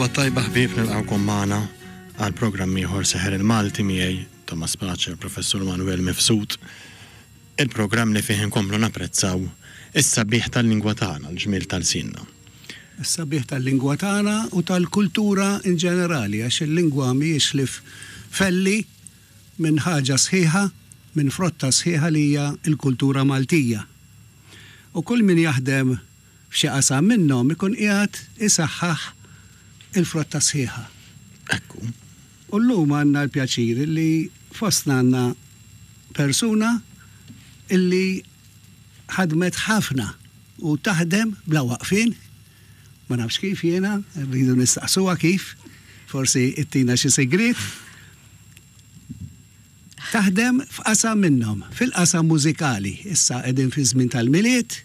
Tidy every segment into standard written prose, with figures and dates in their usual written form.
L-għodwa t-tajba ħbieb nilqgħukom magħna għal programm ieħor Seħer il-Malti miegħi Thomas Pace u l-Professur Manuel Mifsud. Il-programm li fih inkomplu napprezzaw is-sabiħ tal-lingwa tagħna, l-ġmiel ta' lsienna. Is-sabiħ tal-lingwa tagħna u tal-kultura in ġenerali għax il-lingwa mhijiex ħlief felli minn ħaġa sħiħa, minn frotta sħiħa li hija l-kultura Maltija. U kull min jaħdem f'xi qasam minnhom ikun qiegħed isaħħaħ il-frotta sħiħa. Ekku. U llum għandna l-pjaċir illi fostna għandna persuna illi ħadmet ħafna u taħdem bla waqfien, ma nafx kif jiena, rridu nistaqsuha kif, forsi ittina xi sigriet. Taħdem f'qasam minnhom, fil-qasam mużikali. Issa qegħdin fi żmien tal-Milied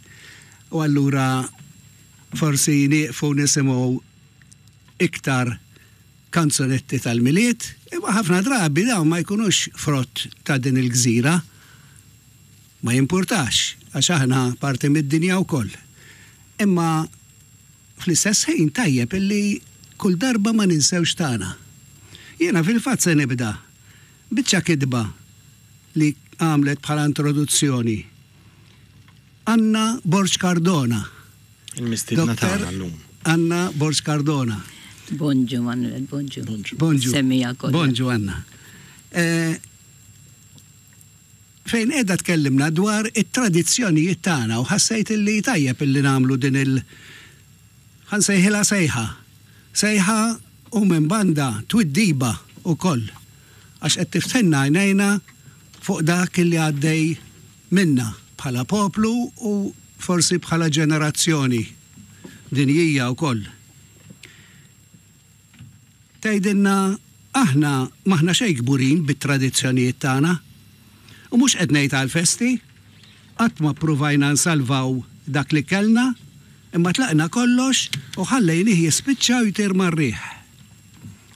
u allura forsi nieqfu nisimgħu iktar kanzunetti tal-Milied, imma ħafna drabi dawn ma jkunux frott ta' din il-gżira. Ma jimpurtax, għax aħna parti mid-dinja wkoll. Imma fl-istess ħin tajjeb illi kull darba ma ninsewx tagħna. Jiena fil-fatt se nibda Biċċa kitba li għamlet bħala introduzzjoni Anna Borg Cardona. Il-mistiedna tagħna llum. Anna Borg Cardona. Bonġu Manuel, bonġu. Bonġu. Semmija kollha. Bonġu Anna. Eh, fejn qiegħda tkellimna dwar it-tradizzjonijiet tagħna u ħassejt illi tajjeb illi nagħmlu din il- Ħa nsejħilha sejħa. Sejħa u minn banda twiddiba wkoll għax qed tiftħilna għajnejna fuq dak li għaddej minna bħala poplu u forsi bħala ġenerazzjoni dinjija wkoll. Tgħidilna aħna m'aħna xejn kburin bit-tradizzjonijiet tagħna. U mhux qed ngħid għall-festi. Qatt ma ppruvajna nsalvaw dak li kellna, imma tlaqna kollox u ħallejnih jispiċċa u jtir mar-riħ.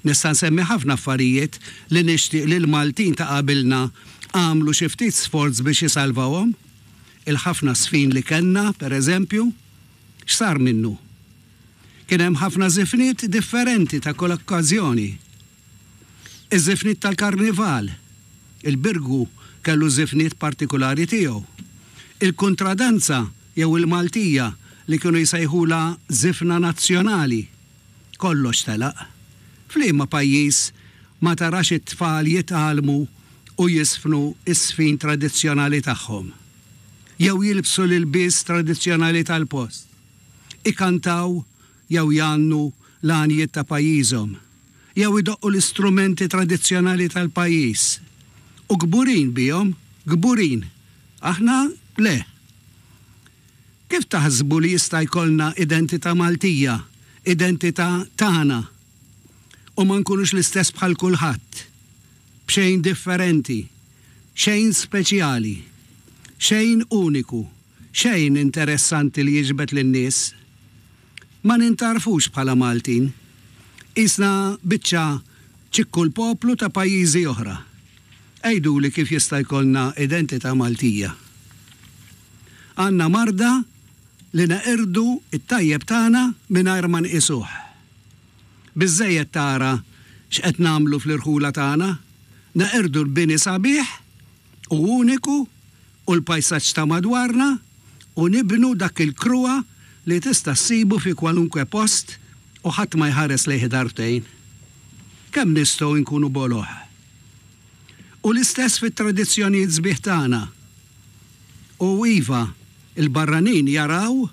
Nista' nsemmi ħafna affarijiet li nixtieq li l-Maltin ta' qabilna għamlu xi ftit sforz biex isalvawhom. Il-ħafna żfin li kellna, per eżempju. X'sar minnu? Kien hemm ħafna żifniet differenti ta' kull okkażjoni. Iż-żifniet tal-karnival. Il-Birgu kellu żifniet partikulari tiegħu. Il-kuntradanza jew il-Maltija li kienu jsejħulha żifna nazzjonali. Kollox telaq. F'liema pajjiż ma tarax it-tfal jitgħallmu u jiżfnu ż-żfin tradizzjonali tagħhom? Jew jilbsu l-ilbies tradizzjonali tal-post? ikantaw jew jgħannu l-għanjiet ta' pajjiżhom, jew idoqqu l-istrumenti tradizzjonali tal-pajjiż. U kburin bihom, kburin. Aħna le. Kif taħsbu li jista' jkollna identità Maltija, identità tagħna, u ma nkunux l-istess bħal kulħadd, b'xejn differenti, xejn speċjali, xejn uniku? Xejn interessanti li jiġbed lin-nies. Ma nintgħarfux bħala Maltin. Qisna biċċa ċikku l-poplu ta' pajjiżi oħra. Għiduli kif jista' jkollna identità Maltija. Għandna marda li neqirdu t-tajjeb tagħna mingħajr ma nqisuh. Biżżejjed tara x'qed nagħmlu fl-irħula tagħna, neqirdu l-bini sabiħ u uniku u l-pajsaġġ ta' madwarna u nibnu dak il-kruha li tista' ssibu fi kwalunkwe post u ħadd ma jħares lejh darbtejn. Kemm nistgħu nkunu boloh! U l-istess fit-tradizzjonijiet sbieħ tagħna. U iva, il-barranin jaraw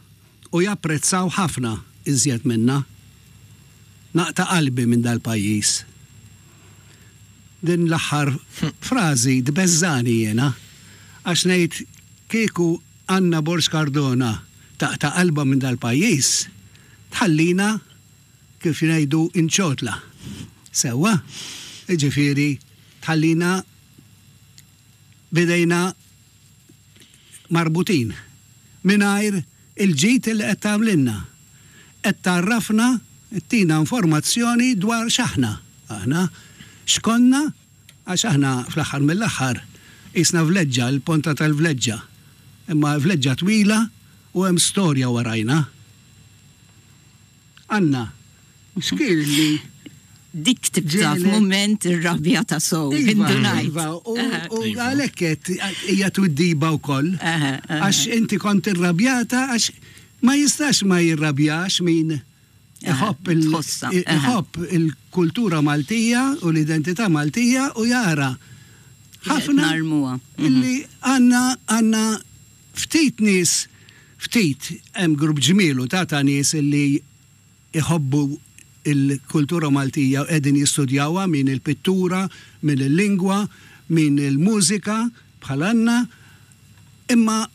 u japprezzaw ħafna iżjed minna. Naqta' qalbi minn dal-pajjiż. Din l-aħħar frażi tbeżżagħni jiena għax ngħid kieku Anna Borg Cardona taqta' qalbha minn dal-pajjiż, tħallina kif ngħidu inċotla. Sewwa? Jiġifieri tħallina b'idejna marbutin, mingħajr il-ġid li qed tagħmlilna. Qed tgħarrafna, ttina informazzjoni dwar x'aħna aħna, x'konna, għax aħna fl-aħħar mill-aħħar qisna vleġġa, il-ponta tal-vleġġa. Imma vleġġa twila u hemm storja warajna. Anna. X'kien li Dik tibda f'mument irrabja ta' sow. Iva, iva, u għalhekk qed hija twiddiba wkoll. Għax inti kont irrabjata għax ma jistax ma jirrabjax min iħobb iħobb il-kultura Maltija u l-identità Maltija u jara ħafna illi għandna għandna ftit nies ftit hemm grupp ġmielu ta' ta' nies illi iħobbu l-kultura Maltija u qegħdin jistudjawha, min il-pittura, min il-lingwa, min il-mużika, bħal Anna, imma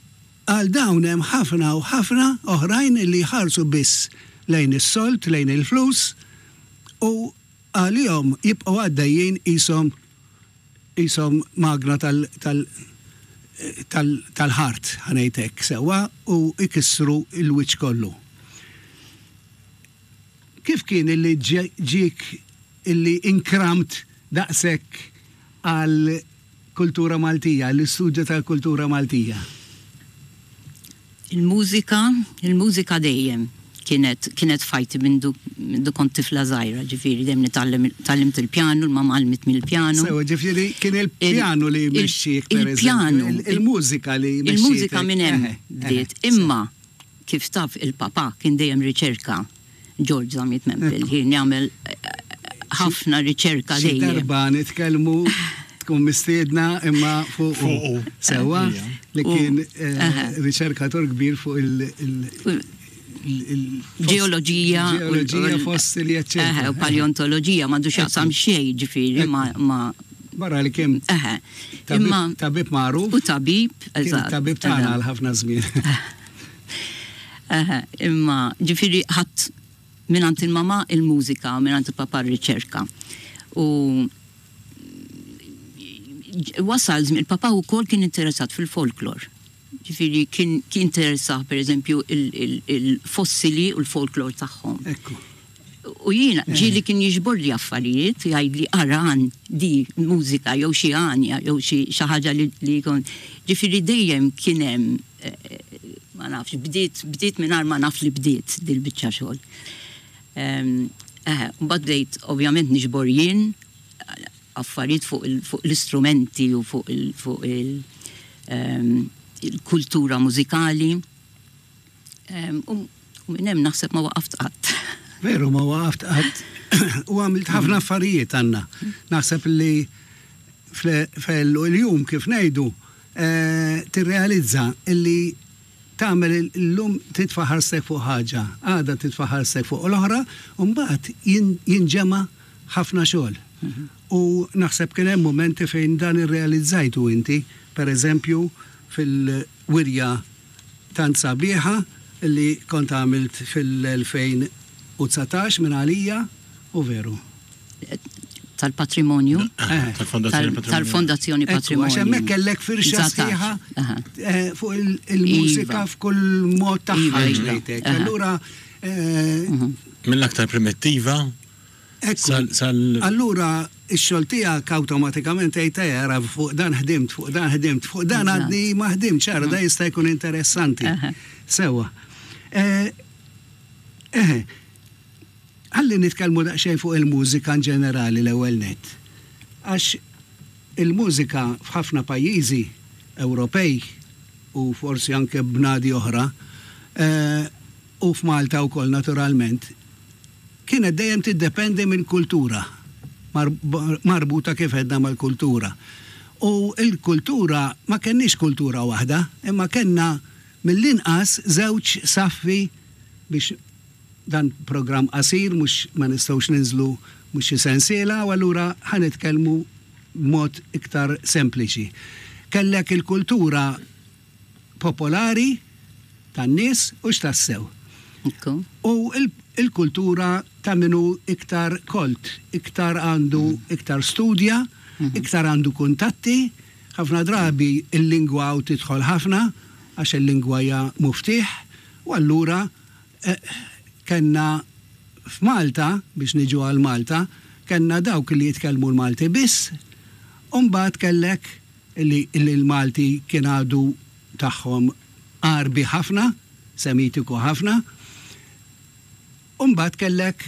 għal dawn hemm ħafna u ħafna oħrajn li jħarsu biss lejn is-sold, lejn il-flus u għalihom jibqgħu għaddejjin qishom qishom magna tal tal tal tal-ħart, ħa ngħid hekk sewwa, u jkissru l-wiċċ kollu. Kif kien illi ġiek illi inkramt daqshekk għal kultura Maltija, għall-istudju tal-kultura Maltija? Il-mużika, il-mużika dejjem kienet kienet f'ħajti mindu mindu kont tifla żgħira, ġifieri dejjem nitgħallem tgħallimt il-pjanu, il-mamma għallmitni l-pjanu. Sewa, ġifieri kien il-pjanu li jmexxik pereżempju, il-mużika li mexxietek. Il-mużika minn hemm bdiet, imma kif taf il-papà kien dejjem riċerka George Zammit Mempel, kien jagħmel ħafna riċerka dejjem. Xi darba nitkellmu tkun mistiedna imma fuq sewwa li kien riċerkatur kbir fuq il- ġeoloġija, ġeoloġija fossili, eċċetera. U paleontoloġija m'għandu x'jaqsam xejn ġifieri ma' Barra li kien tabib magħruf. U tabib, eżatt. Tabib tagħna għal ħafna żmien. Imma ġifieri ħadd mingħand il-mamà il-mużika u mingħand il-papà r-riċerka. U wasal żmien, il-papà wkoll kien interessat fil-folklor. Ġifieri kien interessah pereżempju il-fossili u l-folklor tagħhom. Ekku. U jiena ġieli kien jiġborli affarijiet, jgħidli ara għan di mużika jew xi għanja jew xi ħaġa li jkun. Ġifieri dejjem kien hemm ma nafx, bdiet bdiet mingħajr ma naf li bdiet dil-biċċa xogħol. Eħe, mbagħad bdejt ovvjament niġbor jien affarijiet fuq l-istrumenti u fuq il-kultura mużikali. U minn hemm naħseb ma waqaft qatt. Veru ma waqaft qatt u għamilt ħafna affarijiet Anna. Naħseb li fl-jum kif ngħidu tirrealizza li tagħmel illum titfa' ħarstek fuq ħaġa, għada titfa' ħarstek fuq l-oħra, u mbagħad jinġema' ħafna xogħol. U naħseb kien hemm mumenti fejn dan irrealizzajtu inti, per eżempju fil-wirja tant sabiħa li kont għamilt fil-2019 minn għalija, u veru. Tal-patrimonju. Tal-Fondazzjoni Patrimonju. Għax hemmhekk kellek firxa sħiħa fuq il-mużika f'kull mod tagħha. Allura. Mill-aktar primittiva Ekku. Allura x-xogħol tiegħek awtomatikament tgħid ejja ara fuq dan ħdimt, fuq dan ħdimt, fuq dan għadni ma ħdimtx, ara dan jista' jkun interessanti. Sewwa. Eħe. Ħalli nitkellmu daqsxejn fuq il-mużika in ġenerali l-ewwel nett. Għax il-mużika f'ħafna pajjiżi Ewropej u forsi anke bnadi oħra, u f'Malta wkoll naturalment, kienet dejjem tiddependi mill-kultura, marbuta kif għedna mal-kultura. U l-kultura, ma kenniex kultura waħda, imma kellna mill-inqas żewġ saffi biex dan programm qasir mhux ma nistgħux ninżlu mhux xi sensiela u allura ħa nitkellmu b'mod iktar sempliċi. Kellek il-kultura popolari tan-nies u x'tassew. U l-kultura ta' min hu iktar kolt, iktar għandu iktar studja, iktar għandu kuntatti. Ħafna drabi l-lingwa hawn tidħol ħafna għax il-lingwa hija muftieħ u allura kellna f'Malta, biex niġu għal Malta, kellna dawk li jitkellmu l-Malti biss u mbagħad kellek li l-Malti kien għadu tagħhom Għarbi ħafna, Semitiku ħafna, u mbagħad kellek.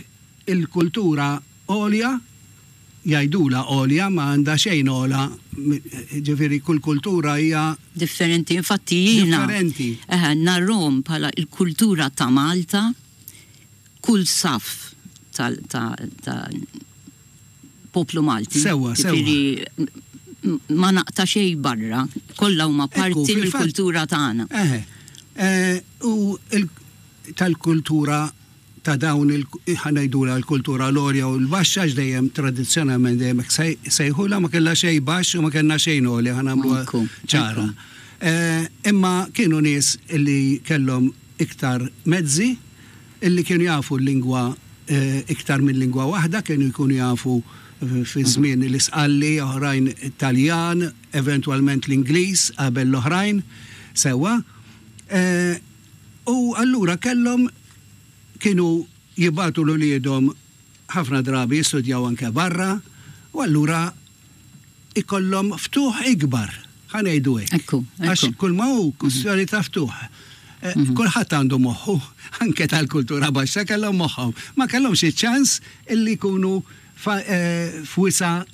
il-kultura għolja, jgħidulha għolja, ma għandha xejn ogħla, ġifieri kull kultura hija. Differenti, infatti jiena. Differenti. Eħe, narahom bħala l-kultura ta' Malta, kull saff tal ta' ta' poplu Malti. Sewwa, sewwa. Ġifieri ma naqta' xejn barra, kollha huma parti mill-kultura tagħna. Eħe. U tal-kultura ta' dawn il, ħa ngħidulha l-kultura l-għolja u l-baxxa għax dejjem tradizzjonalment dejjem hekk sejħulha, ma kellha xejn baxx u ma kellna xejn għoli, ħa nagħmluha ċara. Imma kienu nies li kellhom iktar mezzi, illi kienu jafu l-lingwa iktar minn lingwa waħda, kienu jkunu jafu fi żmien l-Isqalli, oħrajn it-Taljan, eventwalment l-Ingliż qabel l-oħrajn, sewwa. U allura kellhom kienu jibagħtu 'l uliedhom ħafna drabi jistudjaw anke barra u allura ikollhom ftuħ ikbar, ħa ngħidu hekk. Ekku, ekku. Għax kull ma hu kwistjoni ta' ftuħ. Kulħadd għandu moħħu, anke tal-kultura baxxa kellhom moħħhom. Ma kellhomx iċ-ċans illi jkunu f'wisa'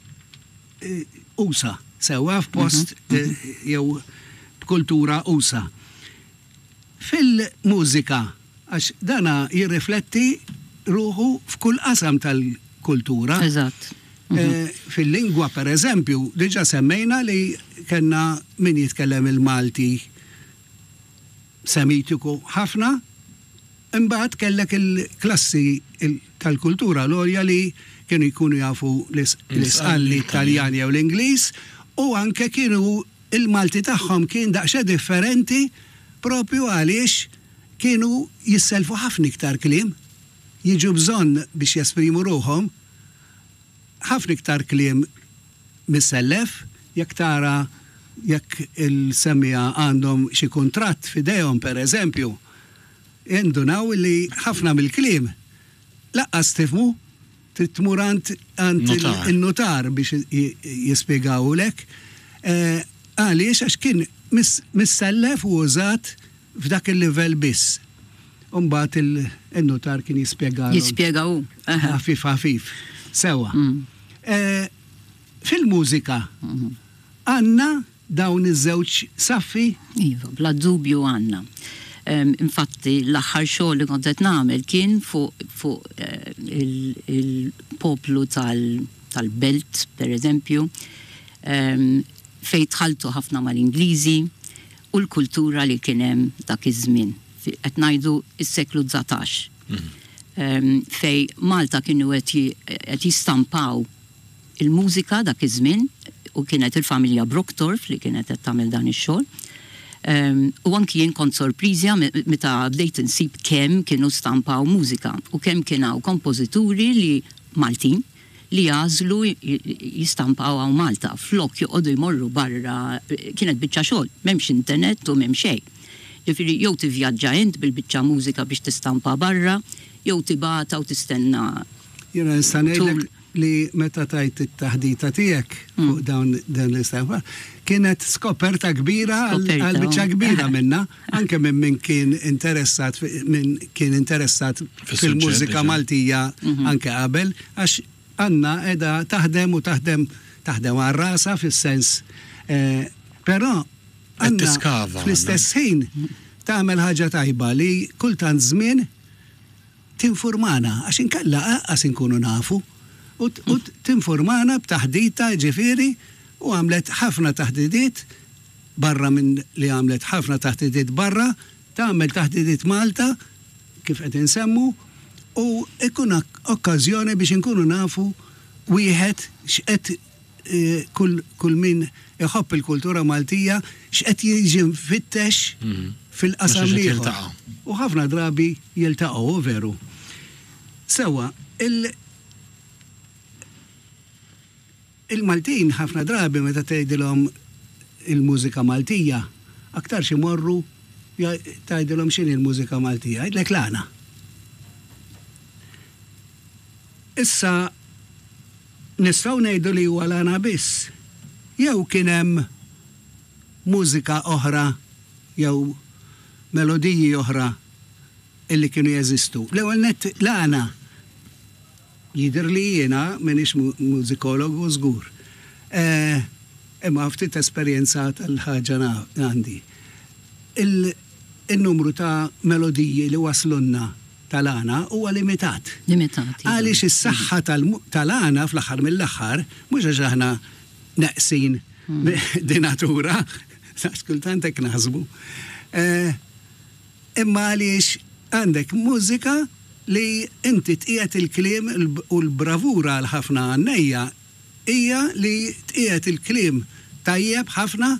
usa', sewwa f'post jew b'kultura usa'. Fil-mużika, għax dana jirrifletti ruħu f'kull qasam tal-kultura. Eżatt. Fil-lingwa, per eżempju, diġà semmejna li kellna min jitkellem il-Malti Semitiku ħafna, imbagħad kellek il-klassi tal-kultura l-għolja li kienu jkunu jafu l-Isqalli, t-Taljan jew l-Ingliż u anke kienu Il-Malti tagħhom kien daqsxejn differenti proprju għaliex kienu jissellfu ħafna iktar kliem, jiġu bżonn biex jesprimu ruħhom ħafna iktar kliem missellef. Jekk tara jekk il-semmiegħa għandhom xi kuntratt f'idejhom pereżempju, jindunaw li ħafna mill-kliem lanqas tifhmu. Trid tmur għand għand in-nutar biex jispjegawulek. Għaliex? Għax kien missellef u użat f'dak il-livell biss. U mbagħad in-nutar kien jispjegalhom. Jispjega hu. Ħafif ħafif. Sewwa. Fil-mużika għandna dawn iż-żewġ saffi? Iva, bla dubju għandna. Infatti l-aħħar xogħol li kont qed nagħmel kien fuq fuq il-poplu tal-belt, per eżempju, fejn tħalltu ħafna mal-Ingliżi u l-kultura li kien hemm dak iż-żmien. Qed ngħidu s-seklu 19. Fejn Malta kienu qed jistampaw il-mużika dak iż-żmien u kienet il-familja Brockdorff li kienet qed tagħmel dan ix-xogħol. U anki jien kont sorpriżja meta bdejt insib kemm kienu stampaw mużika u kemm kien hawn kompożituri li Maltin li jagħżlu jistampaw hawn Malta flok joqogħdu jmorru barra kienet biċċa xogħol, m'hemmx internet u m'hemm xejn. Ġifieri jew tivvjaġġa int bil-biċċa mużika biex tistampa barra jew tibgħatha u tistenna Jiena nista' ngħidlek li meta tajt it-taħdita tiegħek fuq dawn dan l-istampa, kienet skoperta kbira għal biċċa kbira minna, anke minn min kien interessat min kien interessat fil-mużika Maltija anke qabel, għax Anna qiegħda taħdem u taħdem taħdem għal rasha fis-sens però Anna fl-istess ħin tagħmel ħaġa tajba li kultant żmien tinfurmana, għax inkella anqas inkunu nafu, u tinfurmana b'taħdita jiġifieri, u għamlet ħafna taħdidiet barra minn li għamlet ħafna taħdidiet barra, tagħmel taħdidiet Malta, kif qed insemmu, u jkun okkażjoni biex inkunu nafu wieħed x'qed kull kull min iħobb il-kultura Maltija x'qed jiġi mfittex fil-qasam l-ieħor. U ħafna drabi jiltaqgħu, hu veru. Sewwa, il il-Maltin ħafna drabi meta tgħidilhom il-mużika Maltija, aktarx imorru tgħidilhom x'inhi l-mużika Maltija, jgħidlek l-għana. Issa Nistgħu ngħidu li huwa l-għana biss? Jew kien hemm mużika oħra jew melodiji oħra illi kienu jeżistu? L-ewwel nett l-għana. Jidhirli jiena, m'iniex mużikologu żgur. Imma ftit esperjenza tal-ħaġa għandi. Il-numru ta' melodiji li waslulna tal-għana huwa limitat. Limitat, iva. Għaliex is-saħħa tal-għana fl-aħħar mill-aħħar, mhux għax aħna neqsin di natura, għax kultant hekk naħsbu, imma għaliex għandek mużika li inti tqiegħed il-kliem u l-bravura għal ħafna għannejja hija li tqiegħed il-kliem tajjeb ħafna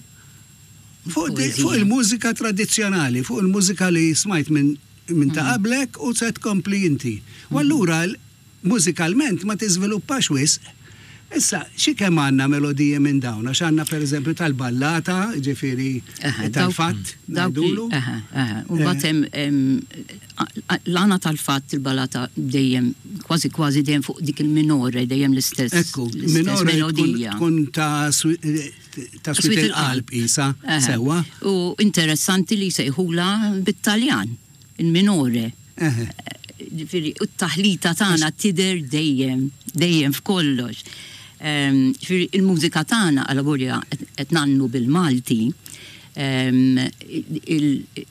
fuq il-mużika tradizzjonali, fuq il-mużika li smajt minn minn ta' qablek u se tkompli inti. U allura mużikalment ma tiżviluppax wisq. Issa, xi kemm għandna melodiji minn dawn, għax għandna pereżempju tal-ballata, jiġifieri tal-fatt, ngħidulu. Eħe, eħe. U mbagħad hemm l-għana tal-fatt il-ballata dejjem, kważi kważi dejjem fuq dik il-minore, dejjem l-istess. Ekku, minore tkun ta' ta' swied il-qalb qisha, sewwa. U interessanti li jsejħulha bit-Taljan, il-minore. Ġifieri, u t-taħlita tagħna tidher dejjem, dejjem f'kollox. Ġifieri, il-mużika tagħna alavolja qed ngħannu bil-Malti,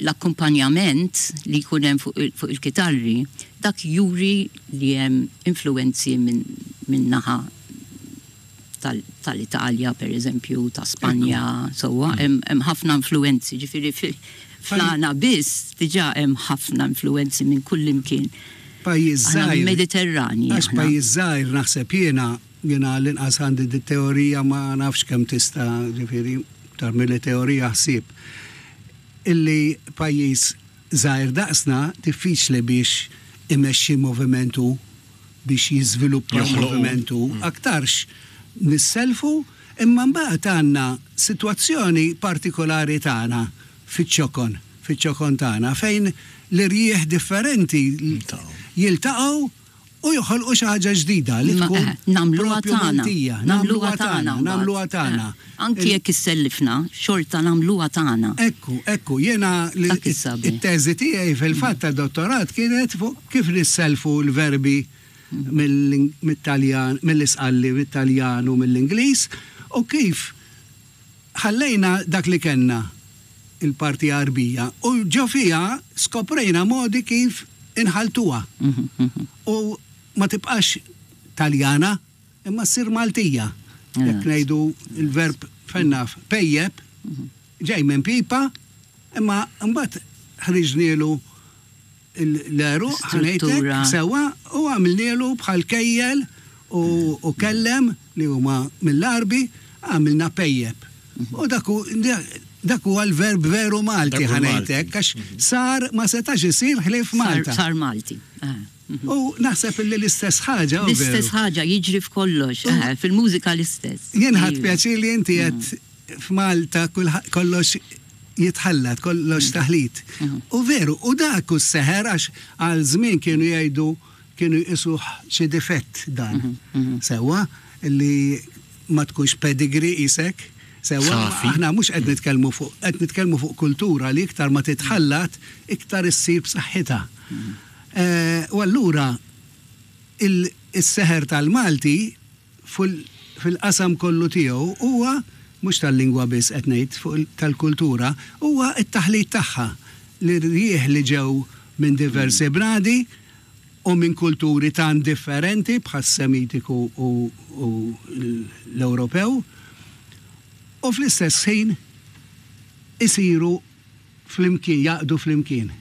l-akkumpanjament li jkun hemm fuq il-kitarri, dak juri li hemm influwenzi minn naħa tal-Italja per eżempju, ta' Spanja, sewwa, hemm ħafna influwenzi, ġifieri fl-għana biss diġà hemm ħafna influwenzi minn kullimkien. Pajjiż żgħir. Mediterranji. Għax pajjiż żgħir naħseb jiena, jiena għall-inqas għandi dit-teorija ma nafx kemm tista' ġifieri iktar milli teorija ħsieb, illi pajjiż żgħir daqsna diffiċli biex imexxi moviment hu. biex jiżviluppa l-moviment hu, aktarx nissellfu, imma mbagħad għandna sitwazzjoni partikolari tagħna fiċ-ċokon, fiċ-ċokon tagħna fejn l-irjieħ differenti jiltaqgħu u joħolqu xi ħaġa ġdida li tkun Nagħmluha proprju tagħna. Maltija. Nagħmluha tagħna mbagħad. Nagħmluha tagħna. Anki jekk issellifna, xorta nagħmluha tagħna. Ekku, ekku, jiena Dak is-sabiħ. it-teżi tiegħi fil-fatt tad-dottorat kienet fuq kif nissellfu l-verbi mit-Taljan, mill-Isqalli, mit-Taljan u mill-Ingliż u kif ħallejna dak li kellna, il-parti Għarbija, u ġo fiha skoprejna modi kif inħalltuha u ma tibqax Taljana imma ssir Maltija. Jekk ngħidu l-verb fejn naf pejjep, ġej minn pipa, imma mbagħad ħriġnielu l-għeruq, ħa ngħidlek, sewwa, u għamilnielu bħal kejjel u kellem li huma mill-Għarbi, għamilna pejjep. U dak hu dak huwa l-verb veru Malti, ħa ngħidlek, għax sar ma setax isir ħlief Malta. Sar Malti. U naħseb illi l-istess ħaġa. L-istess ħaġa jiġri f'kollox, fil-mużika l-istess. Jien ħadt pjaċir li inti qed F'Malta kollox jitħallat, kollox taħlit. U veru, u dak hu s-seħer għax għal żmien kienu jgħidu kienu jqisuh xi difett dan. Sewwa, li ma tkunx pedigree qisek. Sewwa, aħna mhux qed nitkellmu fuq qed nitkellmu fuq kultura li iktar ma titħallat iktar issir b'saħħitha. U allura is-seħer tal-Malti fil-qasam kollu tiegħu huwa, mhux tal-lingwa biss qed ngħid, fuq tal-kultura, huwa t-taħlit tagħha, l-irjieħ li ġew minn diversi bnadi u minn kulturi tant differenti bħas-Semitiku u l-Ewropew, u fl-istess ħin isiru flimkien, jgħaqqdu flimkien.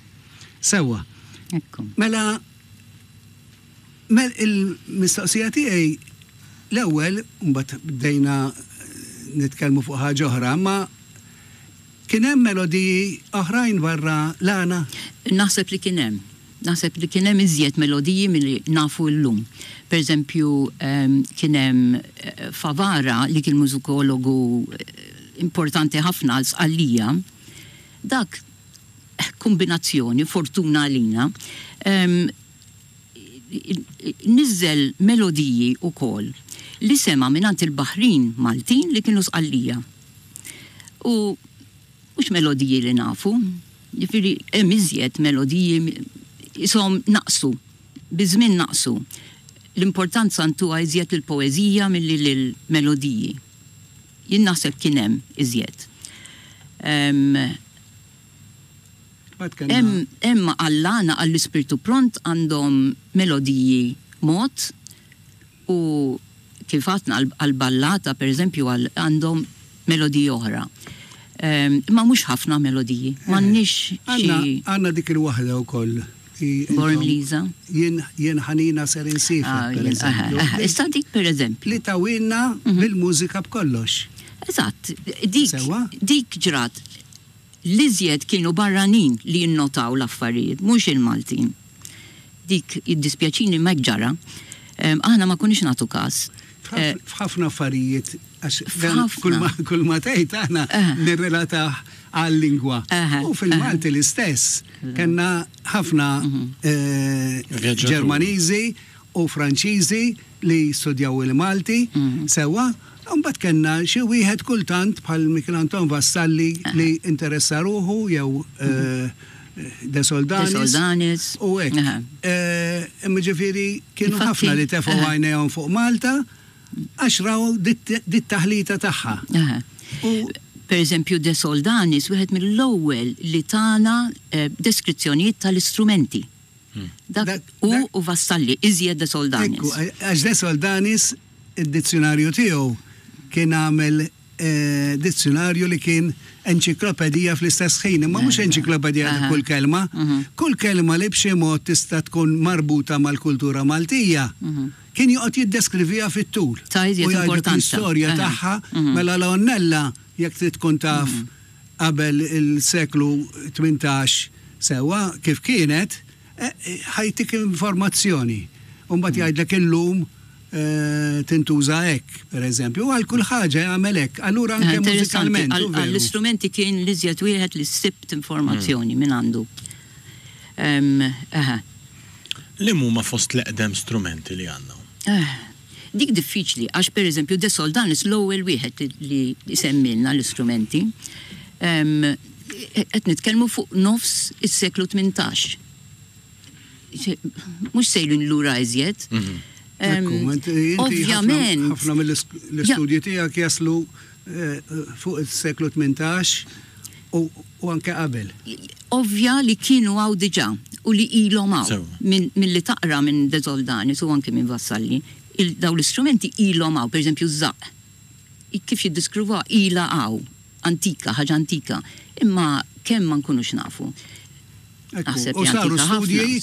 Sewwa. Mela Mel il-mistoqsija tiegħi l-ewwel, mbagħad bdejna nitkellmu fuq ħaġa oħra, imma kien hemm melodiji oħrajn barra l-għana? Naħseb li kien hemm. Naħseb li kien hemm iżjed melodiji milli nafu llum. Per eżempju, kien hemm Favara li kien mużikologu importanti ħafna għal Sqallija. Dak kumbinazzjoni, fortuna għalina, niżżel melodiji wkoll li sema' mingħand il-baħrin Maltin li kienu Sqallija. U mhux melodiji li nafu, jiġifieri hemm iżjed melodiji qishom naqsu, biż-żmien naqsu. L-importanza ntuha iżjed lill-poeżija milli lill-melodiji. Jien naħseb kien hemm iżjed. Hemm hemm għall-għana għall-ispirtu pront għandhom melodiji mod u kif għadna għall-ballata pereżempju għandhom melodiji oħra. Imma mhux ħafna melodiji. M'għandniex xi. Għandna dik il-waħda wkoll. Born Liza. Jien jien ħanina ser insiefer, pereżempju. Issa dik pereżempju. Li tawilna bil-mużika b'kollox. Eżatt, dik dik ġrat. L-iżjed kienu barranin li jinnotaw l-affarijiet, mhux il-Maltin. Dik jiddispjaċini imma hekk ġara. Aħna ma konniex nagħtu każ. F'ħafna affarijiet, għax kull ma tgħid aħna nirrelatah għal-lingwa. U fil-Malti l-istess. Kellna ħafna Ġermaniżi u Franċiżi li studjaw il-Malti sewwa, u mbagħad kellna xi wieħed kultant bħal Mikiel Anton Vassalli li interessa ruħu jew De Soldanis. De Soldanis. U hekk. Imma ġifieri kienu ħafna li tefgħu għajnejhom fuq Malta għax raw dit-taħlita tagħha. U per eżempju De Soldanis wieħed mill-ewwel li tana deskrizzjonijiet tal-istrumenti. Dak hu u Vassalli, iżjed De Soldanis. Ekku, għax De Soldanis id-dizzjunarju tiegħu kien għamel dizzjunarju li kien enċiklopedija fl-istess ħin, imma mhux enċiklopedija ta' kull kelma. Kull kelma li b'xi mod tista' tkun marbuta mal-kultura Maltija, kien joqgħod jiddeskriviha fit-tul. Ta' iżjed U jgħidlek importanza. l-istorja tagħha, mela l-għonnella jekk trid tkun taf qabel il-seklu 18 sewwa kif kienet, ħa jtik informazzjoni. U mbagħad jgħidlek illum tintuża hekk, pereżempju. U għal kull ħaġa jagħmel hekk. Allura anke mużikalment. Għall-istrumenti kien l-iżjed wieħed li sibt informazzjoni minn għandu. Liem huma fost l-eqdem strumenti li għandna? Dik diffiċli għax pereżempju De Soldanis l-ewwel wieħed li semmilna l-istrumenti. Qed nitkellmu fuq nofs is-seklu 18. Mhux sejrin lura iżjed. Ovvjament. Ħafna mill-istudji tiegħek jaslu eh, fuq is-seklu 18 u anke qabel. Ovvja li kienu hawn diġà u li ilhom hawn. Milli taqra minn De Soldanis u anke minn Vassalli, dawn l-istrumenti ilhom hawn, pereżempju ż-żaqq. Kif jiddiskrivuha ilha hawn, antika, ħaġa antika. Imma kemm ma nkunux nafu. Naħseb li saru studji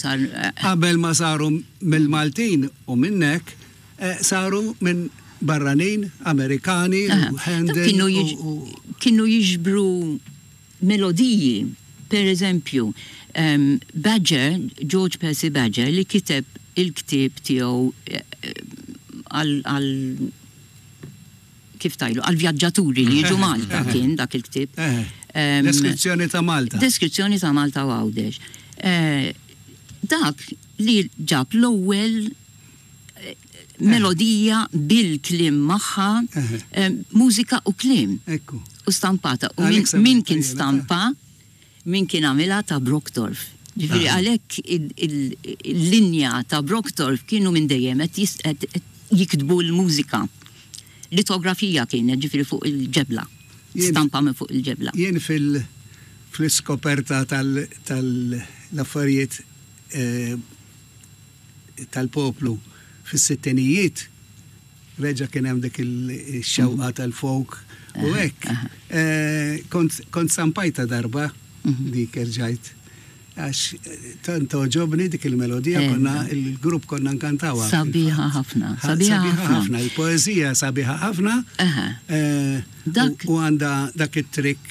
qabel ma saru mill-Maltin u minnek, saru minn barranin, Amerikani, Handel. Kienu jiġbru melodiji, per eżempju, Badger, George Percy Badger, li kiteb il-ktieb tiegħu għal kif tgħidlu, għall-vjaġġaturi li jiġu Malta kien dak il-ktieb. Deskrizzjoni ta' Malta. Deskrizzjoni ta' Malta u Għawdex. Dak li ġab l-ewwel melodija bil-kliem magħha, mużika u kliem. U stampata. U min kien stampa, min kien għamilha ta' Brockdorff. Ġifieri għalhekk il-linja ta' Brockdorff kienu minn dejjem qed jiktbu l-mużika. Litografija kienet, ġifieri fuq il-ġebla. Stampa minn fuq il-ġebla. Jien fil-iskoperta tal-affarijiet tal-poplu fis-sittinijiet, reġa' kien hemm dik ix-xewqa tal-folk u hekk. Kont stampajtha darba dik erġajt għax tant togħġobni dik il-melodija konna il-grupp konna nkantawha. Sabiħa ħafna, sabiħa ħafna. Il-poeżija sabiħa ħafna. U għandha dak it-trick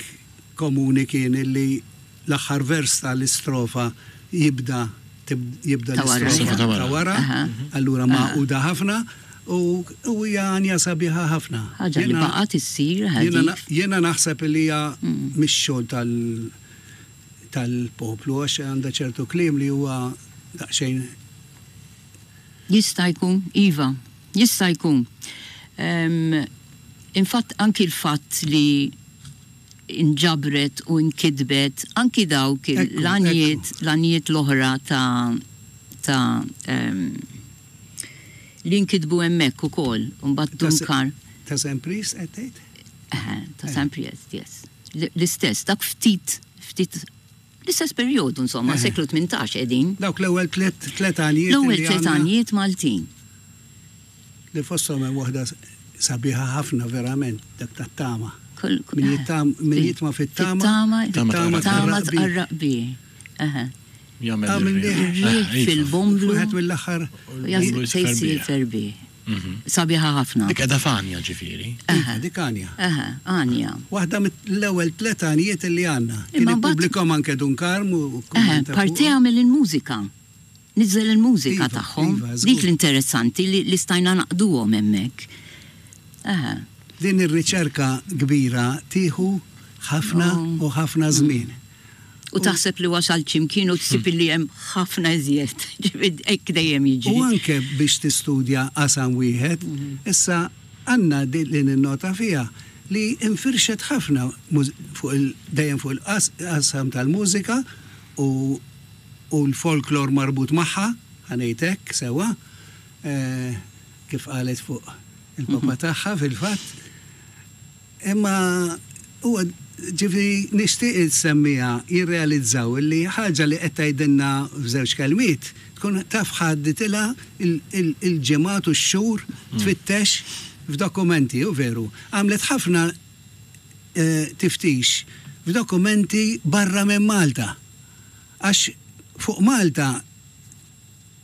komuni kien illi L-aħħar vers ta' l-istrofa jibda jibda l-istrofa ta' wara, allura magħquda ħafna u hija għanja sabiħa ħafna. Ħaġa li baqgħet issir dik. Jiena naħseb li hija mix-xogħol tal-poplu għax għandha ċertu kliem li huwa daqsxejn. Jista' jkun, iva, jista' jkun. Infatt anki l-fatt li inġabret u nkitbet anki dawk l-għanjiet l-għanjiet l-oħra ta' ta' Li nkitbu hemmhekk ukoll, u mbagħad Dun Karm. Ta' Saint Priest qed tgħid? Eħe, ta' Saint Priest, yes. L-istess, dak ftit, ftit, l-istess perjodu insomma, seklu 18 qegħdin. Dawk l-ewwel tlet għanjiet. L-ewwel tlet għanjiet Maltin. Li fosthom hemm waħda sabiħa ħafna verament, dak tat-tama. Min jitma' fit-tama. Fit-tama, tama tqarraq bih. Eħe. Jagħmel ir-riħ fil-bomblu. Wieħed mill-aħħar. Se jsir ferbi. Mhm. Sabiħa ħafna. Dik qiegħda f'għanja ġifieri. Iva, dik għanja. Eħe, għanja. Waħda mill-ewwel tlet għanjiet li għandna. Kien ippubblikhom anke Dun Karm u Parti għamel il-mużika. Niżel il-mużika iva, tagħhom. Iva, dik l-interessanti li stajna naqduhom hemmhekk. Eħe. Din ir-riċerka kbira tieħu ħafna oh. u ħafna żmien. U taħseb li wasalt xi mkien u tsib li hemm ħafna iżjed. Ġifieri hekk dejjem jiġri. U anke biex tistudja qasam wieħed, issa għandna din li ninnota fiha li infirxet ħafna fuq il dejjem fuq il-qasam tal-mużika u u l-folklor marbut magħha, ħa ngħid hekk sewwa, kif qalet fuq il-papa tagħha fil-fatt. Imma huwa ġifieri nixtieq is-semmiegħa jirrealizzaw li ħaġa li qed tgħidilna f'żewġ kelmiet tkun taf ħadditilha l-ġimgħat u x-xhur tfittex f'dokumenti, hu veru. Għamlet ħafna tiftix f'dokumenti barra minn Malta. Għax fuq Malta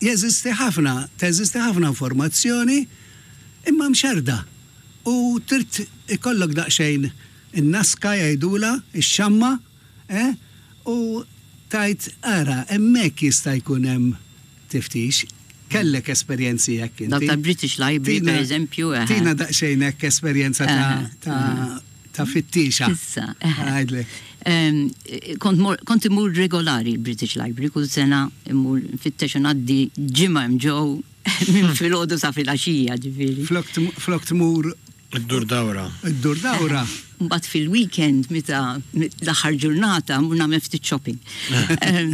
Jeżisti ħafna, teżisti ħafna informazzjoni imma mxerrda u trid ikollok daqsxejn in-naska jgħidulha, ix-xamma, eh, u tgħid ara hemmhekk jista' jkun hemm tiftix. Kellek esperjenzi hekk inti? Dawk tal-British Library pereżempju, eħe. Tina daqsxejn hekk esperjenza ta' ta' fittiexa. Issa, eħe. Ngħidlek. Kont mor, kont immur regolari l-British Library kull sena immur nfittex u ngħaddi ġimgħa hemm ġew minn filgħodu sa filgħaxija ġifieri. Flok tm- Flok tmur Iddur dawra. iddur dawra. Mbagħad fil-weekend meta l-aħħar ġurnata mmur nagħmel ftit shopping. Em,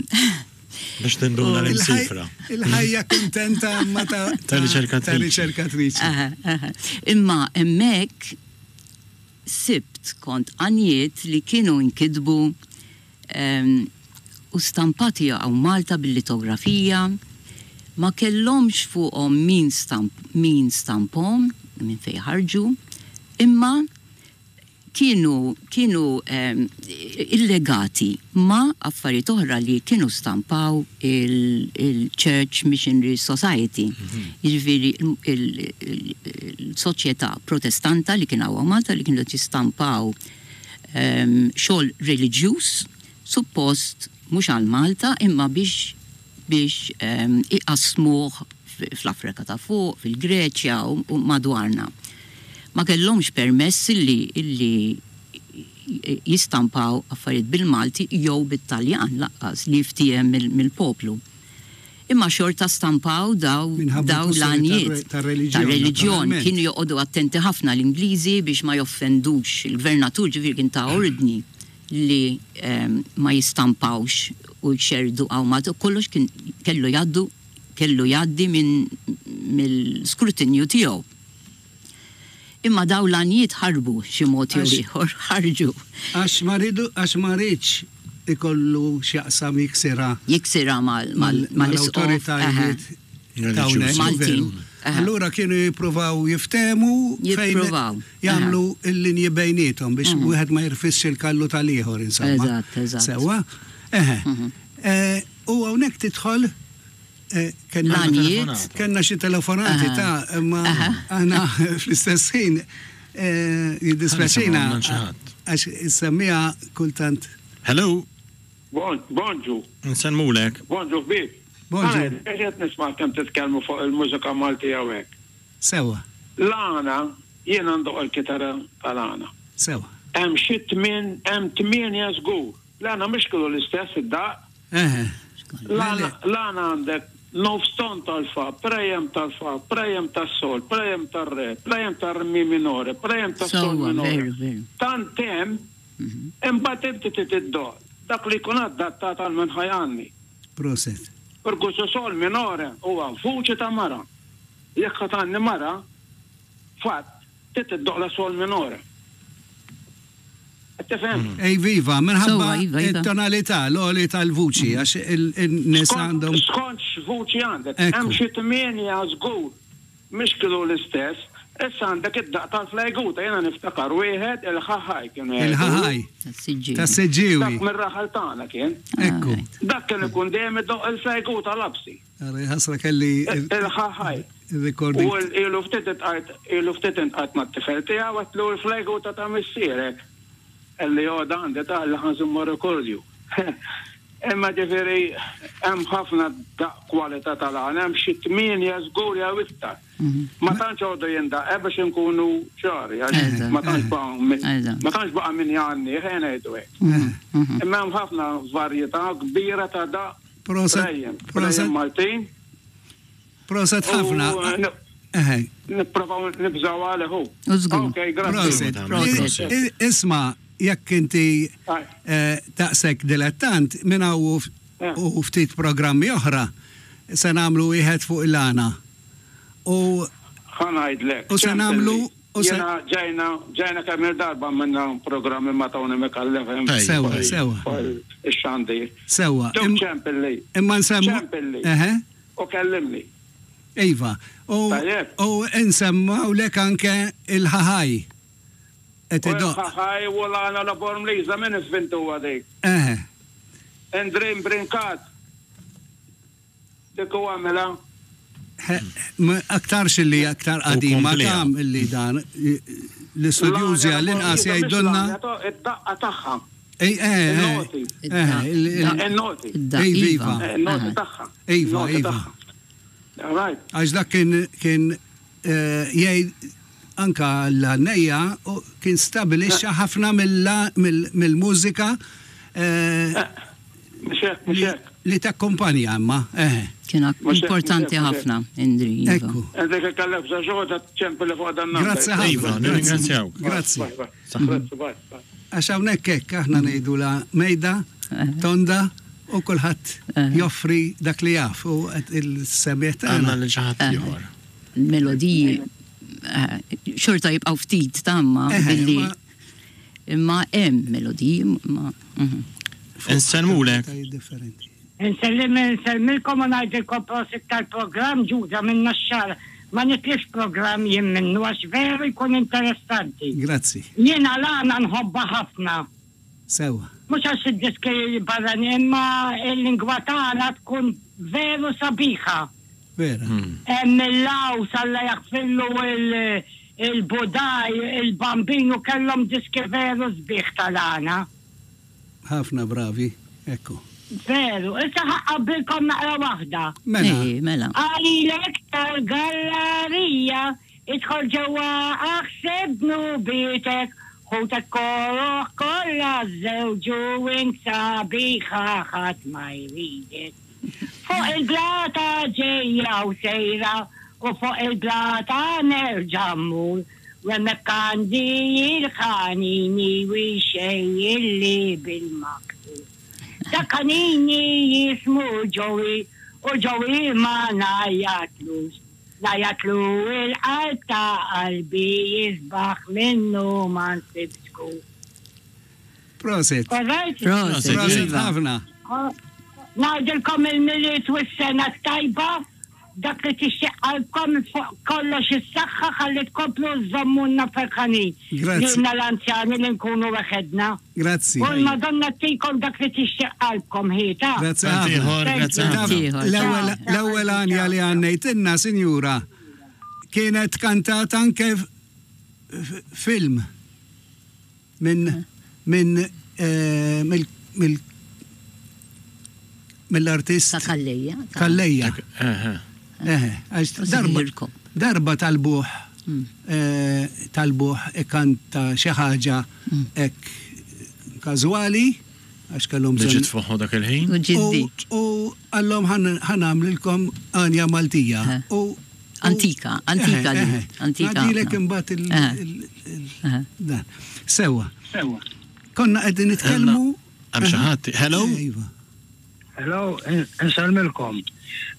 Biex tinduna l-imsifra. Il-ħajja kuntenta imma ta' Ta' riċerkatriċi. Ta' riċerkatriċi. Aha, aha. Imma hemmhekk sibt kont għanjiet li kienu nkitbu u stampati hawn Malta bil-litografija, ma kellhomx fuqhom min stamp min stamphom, minn fejn ħarġu, imma kienu kienu illegati ma' affarijiet oħra li kienu stampaw il-Church Missionary Society, jiġifieri il-soċjetà Protestanta li kien hawn Malta li kienu qed jistampaw xogħol reliġjuż suppost mhux għal Malta imma biex biex iqassmuh fl-Afrika ta' Fuq, fil-Greċja u madwarna. Ma kellhomx permess illi illi jistampaw affarijiet bil-Malti jew bit-Taljan lanqas li jiftiehem mill-poplu. Imma xorta stampaw daw daw l-għanjiet tar-reliġjon. Kienu joqogħdu attenti ħafna l-Ingliżi biex ma joffendux il-gvernatur ġifieri kien ta ordni li ma jistampawx u jxerrdu hawn Malta u kollox kien kellu jgħaddu kellu jgħaddi minn mill-skrutinju tiegħu. Imma dawn l-għanjiet ħarbu xi mod jew ieħor, ħarġu. Għax ma riedu għax ma riedx ikollu x'jaqsam jiksirha. Jiksirha mal mal-isqof. Mal-awtoritajiet ta' hawnhekk. Maltin. Allura kienu jippruvaw jiftehmu fejn jagħmlu l-linji bejniethom biex wieħed ma jirfisx il-kallu tal-ieħor insomma. Eżatt, eżatt. Sewwa? Eħe. U hawnhekk tidħol kellna kellna xi telefonati ta' imma aħna fl-istess ħin jiddispjaċina għax is-semmiegħa kultant. Hello. Bonġu. Nsellmulek. Bonġu ħbieb. Bonġu. Qed nisma' kemm titkellmu fuq il-mużika Maltija u hekk. Sewwa. L-għana, jiena ndoqq il-kitarra tal-għana. Sewwa. Hemm xi tmien, hemm tmienja żgur. L-għana mhux kienu l-istess id-daqq. Eħe. L-għana għandek nofs ton tal-fa, prejem tal-fa, prejem tas-sol, prejem tar-re, prejem tar-mi minore, prejem tas-sol minore. Tant hemm Imbagħad inti trid iddoqq dak li jkun adattat għal min ħa jgħanni. Proset. Percusso sol minore huwa vuċi ta' mara. Jekk ħa tgħanni mara, fatt, trid iddoqqla sol minore. Qed tifhem? Iva, iva, minħabba Sewwa, iva, iva. it-tonalità, l-għoli tal-vuċi, għax il-nisa għandhom. Skont x'vuċi għandek. Ekku. Hemm xi tmienja żgur mhix kienu l-istess. Issa għandek id-daqq tal-flajguta, jiena niftakar wieħed il-ħaħaj kienu jgħidulu. Il-ħaħaj. Tas-Siġġiewi. Tas-Siġġiewi. Dak mir-raħal tagħna kien. Ekku. Dak kien ikun dejjem idoqq il-flajguta lapsi. Ara ħasra kelli. Il-ħaħaj. Il-recording. U ilu ftit intqajt, ilu ftit intqajt mat-tifel tiegħu għedtlu l-flajguta ta' missierek. Qalli għoda għandi ta' li ħa nżommu rekordju. Imma ġifieri hemm ħafna daqq kwalità tal-għana, hemm xi tmienja żgur jew iktar. Ma tantx għodu jindaq, eh, biex inkunu ċari, għax ma tantx baqa' ma tantx baqa' min jgħanni, ħa ngħidu hekk. Imma hemm ħafna varjetà kbira ta' daqq Proset. Proset Maltin. Proset ħafna. Nipprovaw nibżaw għalih hu. Ok, grazzi. Proset. Isma' jekk inti daqshekk dilettant, minn hawn u ftit programmi oħra se nagħmlu wieħed fuq il-għana. U Ħa ngħidlek. U se nagħmlu u se Jiena ġejna ġejna kemm il-darba għamilna programmi ma' Tony Micallef hemm. Sewwa, sewwa. Ix-xandir. Sewwa. Dok ċempilli. Imma nsemmu. Ċempilli. Eħe. U kellimni. Iva. U Tajjeb. u nsemmgħulek anke il-ħaħaj. Qed idoqq. U l-ħaħaj u l-għana la Bormliża min ivvintuha dik? Eħe. Indrin Brincat. Dik hu għamilha. Aktarx illi aktar qadima ta' illi dan l-istudjużi għall-inqas jgħidulna. Id-daqqa tagħha. Ej, eh, eh, Il-noti. Iva. Il-noti tagħha. Iva, iva. Għax dak kien kien jgħid anka l-għannejja kien stabilixxa ħafna mill-mużika Mhux hekk, mhux hekk. Li takkumpanja imma, eħe. Kien importanti ħafna, Indri. Iva. Ekku. Indri kif kellek bżonn xi ħaġa ċempilli fuq dan number. Grazzi ħafna. Iva, nirringrazzjawk. Grazzi. Grazzi, bye. Għax hawnhekk hekk aħna ngħidulha mejda, tonda u kulħadd joffri dak li jaf u il-semmiegħ tagħna. Għandna lil xi ħadd ieħor. Melodiji xorta jibqgħu ftit tamma billi Imma hemm melodiji ma. Mhm. Insellmulek. Insellim insellmilkom u ngħidilkom prosit tal-programm Ġuda minn Naxxar. Ma nitlifx programm jien minnu għax veru jkun interessanti. Grazzi. Jiena l-għana nħobbha ħafna. Sewwa. Mhux għax id-diski barranin imma l-lingwa tagħna tkun veru sabiħa. Vera. Hemm il-Laws Alla jaħfirlu il-Budaj, il-Bambinu kellhom diski veru sbieħ tal-għana. Ħafna bravi, ekku. Veru, issa ħa nqabbilkom naqra waħda. Mela. Ej, mela. Qalilek tal-gallarija, idħol ġewwa aħseb dnubietek, ħutek koroh kollha żżewġu int sabiħa ħadd ma jridek. Fuq il-blata ġejja u sejra u fuq il-blata nerġa' mmur u hemmhekk għandi il-ħanini u jxejjilli bil-maktur. Dak ħanini jismu Joey u Joey ma ngħajjatlux. Ngħajjatlu il-qalb ta' qalbi jisbaħ minnu ma nsibx kur. Prosit. Alright? Prosit. Prosit Iva. ħafna. Ngħidilkom il-Milied u s-sena t-tajba, dak li tixtieq qalbkom fuq kollox is-saħħa ħalli tkomplu żżommulna ferħanin. Grazzi. Lilna l-anzjani li nkunu weħedna. Grazzi. U l-Madonna ttikom dak li tixtieq qalbkom ħieta. Grazzi Grazzi ħafna. ieħor, grazzi Thank you. ħafna. Grazzi ieħor. L-ewwel Ciao, l-ewwel ciao, għanja li ciao. għannejtilna, sinjura, kienet kantata anke f- f- film minn minn eh, mill mill mill-artist Ta' Kalleja. Kalleja. Eħe. Eħe, għax U darba Sirkom. darba talbuh eh, talbuh ikanta xi ħaġa hekk każwali għax kellhom Li bżonn ġiet fuqhu dak il-ħin. U ġiddi. U għallhom ħanamlilkom għanja Maltija. Eh. U Antika, antika Eħe, di, eħe. antika Ngħaddilek ħafna. imbagħad il- Eh. il- il- Eh. dan. Sewwa. Konna qegħdin nitkellmu. Hemm xi ħadd. Hello? Iva. Hello, insellmilkom.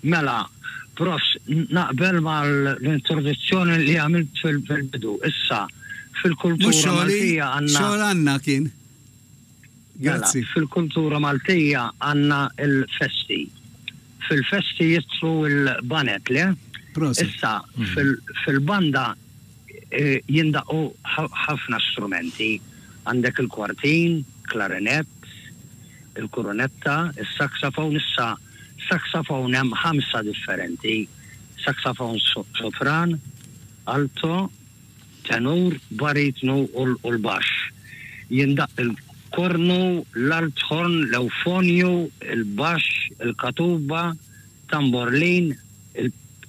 Mela, Profs, naqbel mal-introduzzjoni li għamilt fil-bidu. Issa, fil-kultura Maltija għandna. Xogħol għandna kien. Mela, Grazzi. Fil-kultura Maltija għandna l-festi. Fil-festi jidħlu l-baned, le? Proset. Issa, fil-banda jindaqqu ħafna strumenti. Għandek il-kwartin, klarinett, il-kurunetta, is-saxophone. Issa, saxophone hemm ħamsa differenti. Saxophone sopran, alto, tenur, baritnu u l-baxx. Jindaqq il-kornu, l-althorn, l-ewfonju, il-baxx, il-katuba, tamborlin,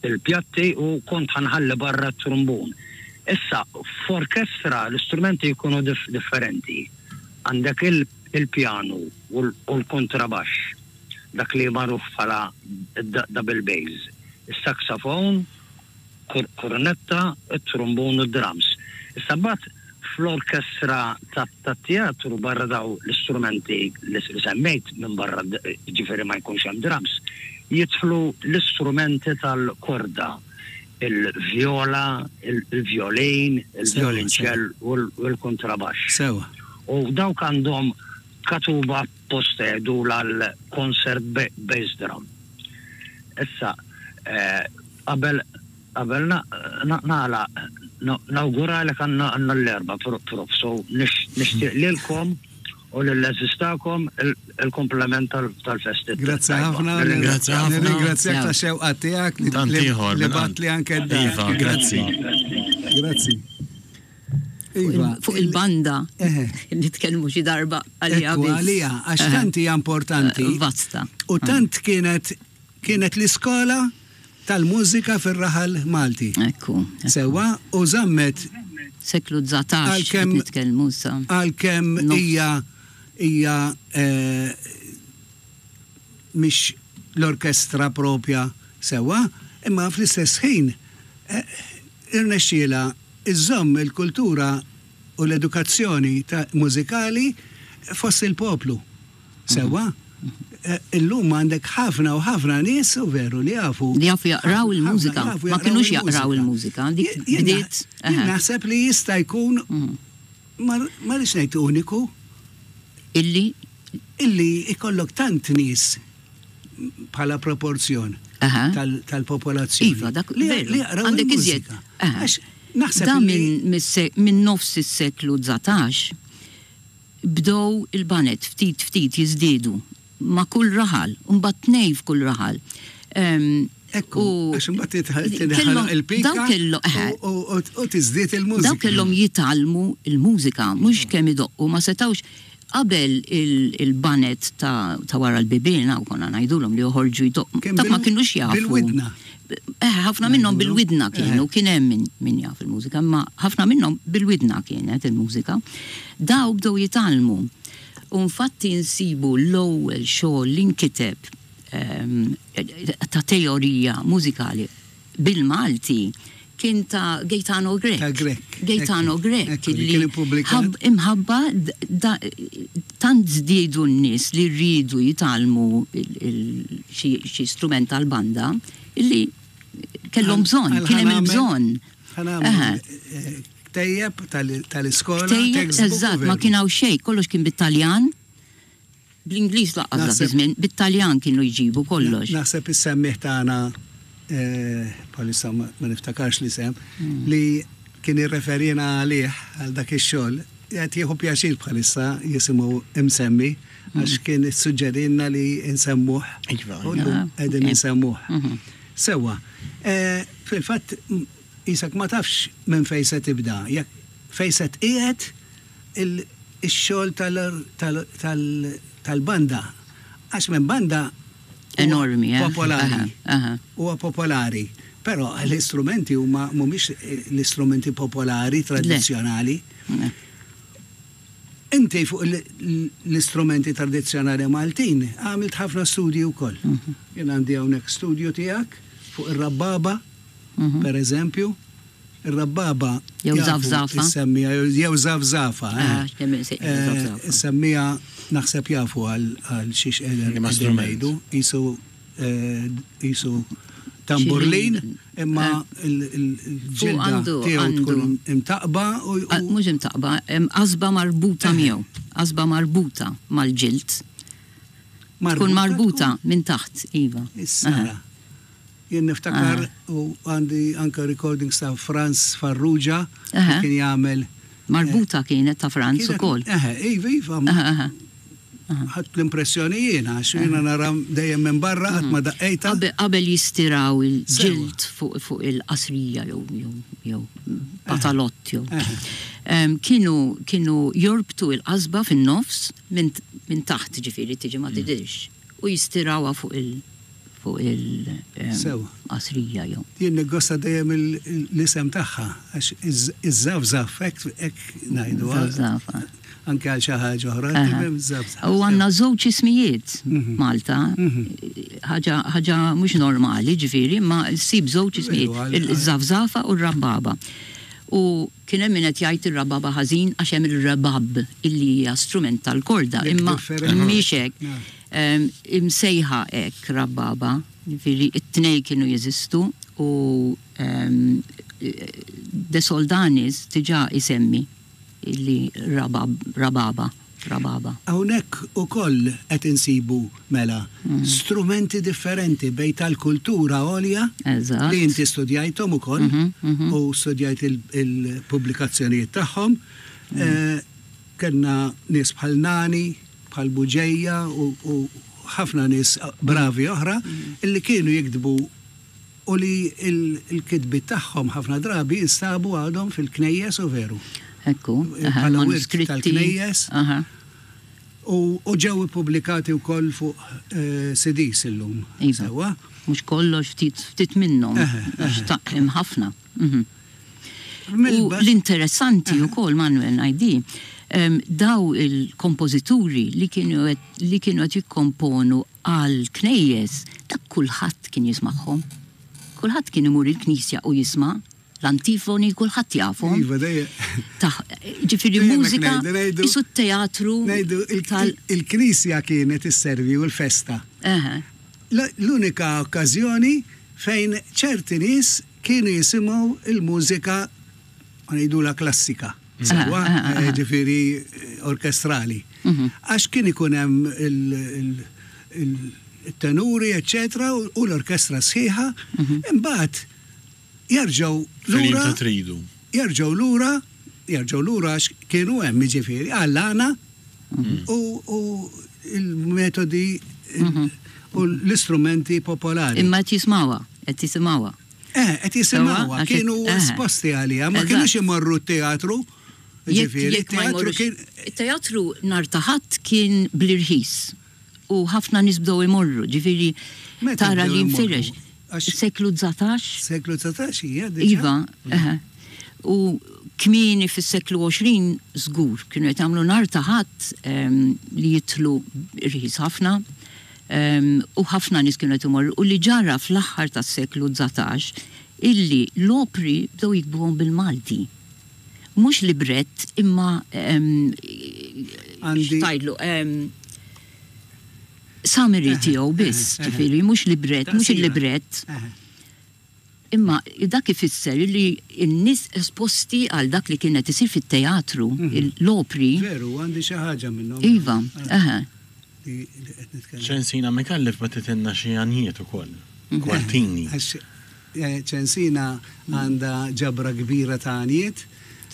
il-pjatti u kont ħa nħalli barra t-trumbun. Issa, f'orkestra l-istrumenti jkunu differenti. Għandek il-pjanu u l-kontrabaxx, dak li magħruf bħala double bass, is-saxophone, kornetta, it-trumbun u d-drums. Issa mbagħad fl-orkestra tat-teatru barra daw l-istrumenti li semmejt minbarra jiġifieri ma jkunx hemm drums, jidħlu l-istrumenti tal-korda, il-vjola, il-vjolin, il-vjolinċell u l-kuntrabaxx. Sewwa. U dawk għandhom katuba apposta jgħidulha l-concert bass drum. Issa, Qabel qabel nagħlaq nawguralek għandna l-Erbgħa Prof. So nixtieq lilkom u lill-għeżież tagħkom il-kumplament tal-festi. Grazzi ħafna. Grazzi ħafna. Nirringrazzjak tax-xewqa tiegħek li bagħtli anke d-dar. Iva, grazzi. Grazzi. Iva. Fuq il-banda nitkellmu xi darba għaliha. Għaliha, għax tant hija importanti. Vasta. U tant kienet Kienet l-iskola tal-mużika fir-raħal Malti. Ekku. Sewwa, u żammet. Seklu 19 qed nitkellmu issa. Għalkemm hija hija mhix l-orkestra propja sewwa, imma fl-istess ħin irnexxielha żżomm il-kultura u l-edukazzjoni mużikali fost il-poplu. Sewwa? Illum għandek ħafna u ħafna nies, u veru, li jafu. Li jafu jaqraw il-mużika. Ma kinux jaqraw il-mużika. Dik bdiet. Jien naħseb li jista' jkun, ma rridx ngħid uniku. Illi? Illi jkollok tant nies bħala proporzjon tal-popolazzjoni. Iva, dak li jaqraw il-mużika. Naħseb. Da minn nofs is-seklu 19 Bdew il-baned ftit ftit jiżdiedu ma' kull raħal, u mbagħad tnejn f'kull raħal. Ekku, għax imbagħad tinħoloq il-pika u tiżdied il-mużika. Dawk kellhom jitgħallmu l-mużika, mhux kemm idoqqu, ma setgħux qabel il-baned ta' wara l-bibien, hawn konna ngħidulhom li joħorġu jdoqqu, dak ma kinux jafu. Bil-widna. Eh, ħafna minnhom bil-widna kienu, kien hemm min jaf il-mużika, imma ħafna minnhom bil-widna kienet il-mużika. Daw bdew jitgħallmu. U infatti nsibu l-ewwel xogħol li nkiteb ehm, ta' teorija mużikali bil-Malti kien ta' Gaetano Grech. Ta' Grech. Gaetano Grech. Li imħabba tant żdiedu n-nies li rridu jitgħallmu xi strument tal-banda illi kellhom bżonn, kien hemm il-bżonn. Ktejjeb tal-iskola. Ktejjeb, eżatt, ma kien hawn xejn, kollox kien bit-Taljan. Bl-Ingliż lanqas dak iż-żmien, bit-Taljan kienu jġibu kollox. Naħseb is-semmiegħ tagħna, bħalissa ma niftakarx l-isem, li kien irreferina għalih għal dak ix-xogħol, qed jieħu pjaċir bħalissa jisimgħu imsemmi għax kien issuġġerilna li nsemmuh. U llum qegħdin insemmuh. Sewwa, fil-fatt qisek ma tafx minn fejn se tibda, jekk fejn se tqiegħed ix-xogħol tal-banda għax minn banda enormi eh? popolari. Huwa popolari. Però l-istrumenti huma mhumiex l-istrumenti popolari tradizzjonali. Inti fuq l-istrumenti tradizzjonali Maltin għamilt ħafna studji wkoll. Mhm. Jien għandi hawnhekk studju tiegħek fuq ir-rabbaba, mhm. per eżempju. Ir-rabbaba. Jew żafżafa. Issemmija, jew żafżafa. Issemmija naħseb jafu għal xiex qegħdin ngħidu. Qisu qisu Tamburlin, imma l-ġilda tiegħu tkun imtaqqba u. Mhux imtaqqba, hemm qasba marbuta miegħu, qasba marbuta mal-ġild. Tkun marbuta minn taħt, iva. Issa. Jien niftakar u għandi anke recordings ta' Franz Farrugia li kien jagħmel. Marbuta kienet ta' Franz ukoll. Eħe, iva, iva. Ħadt l-impressjoni jiena, għax jiena nara dejjem minn barra qatt ma daqqejtha. Qabel jistiraw il-ġild fuq il-qasrija jew patalott jew. Kienu kienu jorbtu il-qasba fin-nofs minn taħt ġifieri tiġi ma tidhirx u jistirawha fuq il- fuq il-qasrija jew. Jien niggosta dejjem l-isem tagħha għax iż-żafżaf hekk ngħidu. Żafżafa. Anke għal xi ħaġa oħra, tifhem żafżaf. U għandna żewġ ismijiet Malta, ħaġa ħaġa mhux normali ġifieri, imma ssib żewġ ismijiet, iż-żafżafa u r-rabbaba. U kien hemm min qed jgħid ir-rababa ħażin għax hemm ir-rebab illi hija strument tal-korda, imma mhix hekk. Imsejħa hekk rabbaba, jiġifieri t-tnejn kienu jeżistu u De Soldanis diġà isemmi li rabab, rababa, rababa. Hawnhekk ukoll qed insibu mela strumenti differenti bejn tal-kultura għolja li inti studjajthom ukoll u studjajt il-pubblikazzjonijiet tagħhom. Kellna nies bħal Nani, bħal Buġeja u ħafna nies bravi oħra li kienu jiktbu u li l-kitbiet tagħhom ħafna drabi instabu għadhom fil-knejjes u veru. Ekku, bħala wirt tal-knejjes. U ġew ippubblikati wkoll fuq CDs illum. Iva. Mhux kollox ftit minnhom. Għax hemm ħafna. U l-interessanti wkoll Manuel ngħid daw il-kompożituri li kienu li kienu qed jikkomponu għal knejjes, dak kulħadd kien jismagħhom. Kulħadd kien imur il-knisja u jisma' l-antifoni kulħadd jafhom. Iva, dejjem. Ġifieri mużika isu t-teatru. Ngħidu il-knisja kienet isservi u l-festa. L-unika okkażjoni fejn ċerti nies kienu jisimgħu l-mużika ngħidulha klassika, sewwa, ġifieri orkestrali. Għax kien ikun hemm il-tenuri, eċċetera, u l-orkestra sħiħa, imbagħad jerġgħu lura. Jerġgħu lura, jerġgħu lura għax kienu hemm, jiġifieri, għall-għana u l-metodi u l-istrumenti popolari. Imma qed jismgħuha, qed jisimgħuha. Eh, qed jisimgħuha, kienu esposti għaliha, ma kinux imorru t-teatru. Ġifieri, teatru kien. Teatru nhar ta' Ħadd kien bl-irħis u ħafna nies bdew imorru, ġifieri tara li nfirex. Seklu 19. Seklu 19 hija diġà. Iva, eħe. U kmieni fis-seklu 20 żgur kienu qed jagħmlu nhar ta' Ħadd li jidħlu irħis ħafna. U ħafna nies kienu qed imorru u li ġara fl-aħħar tas-seklu 19 illi l-opri bdew jiktbuhom bil-Malti. Mhux librett imma x'tgħidlu summary tiegħu biss, ġifieri mhux librett, mhux il-librett. Imma dak ifisser li n-nies esposti għal dak li kien qed isir fit-teatru, l-opri. Veru, għandi xi ħaġa minnhom. Iva, eħe. Ċensina Micallef bagħtitilna xi għanjiet ukoll, kwartini. Għax Ċensina għandha ġabra kbira ta' għanjiet,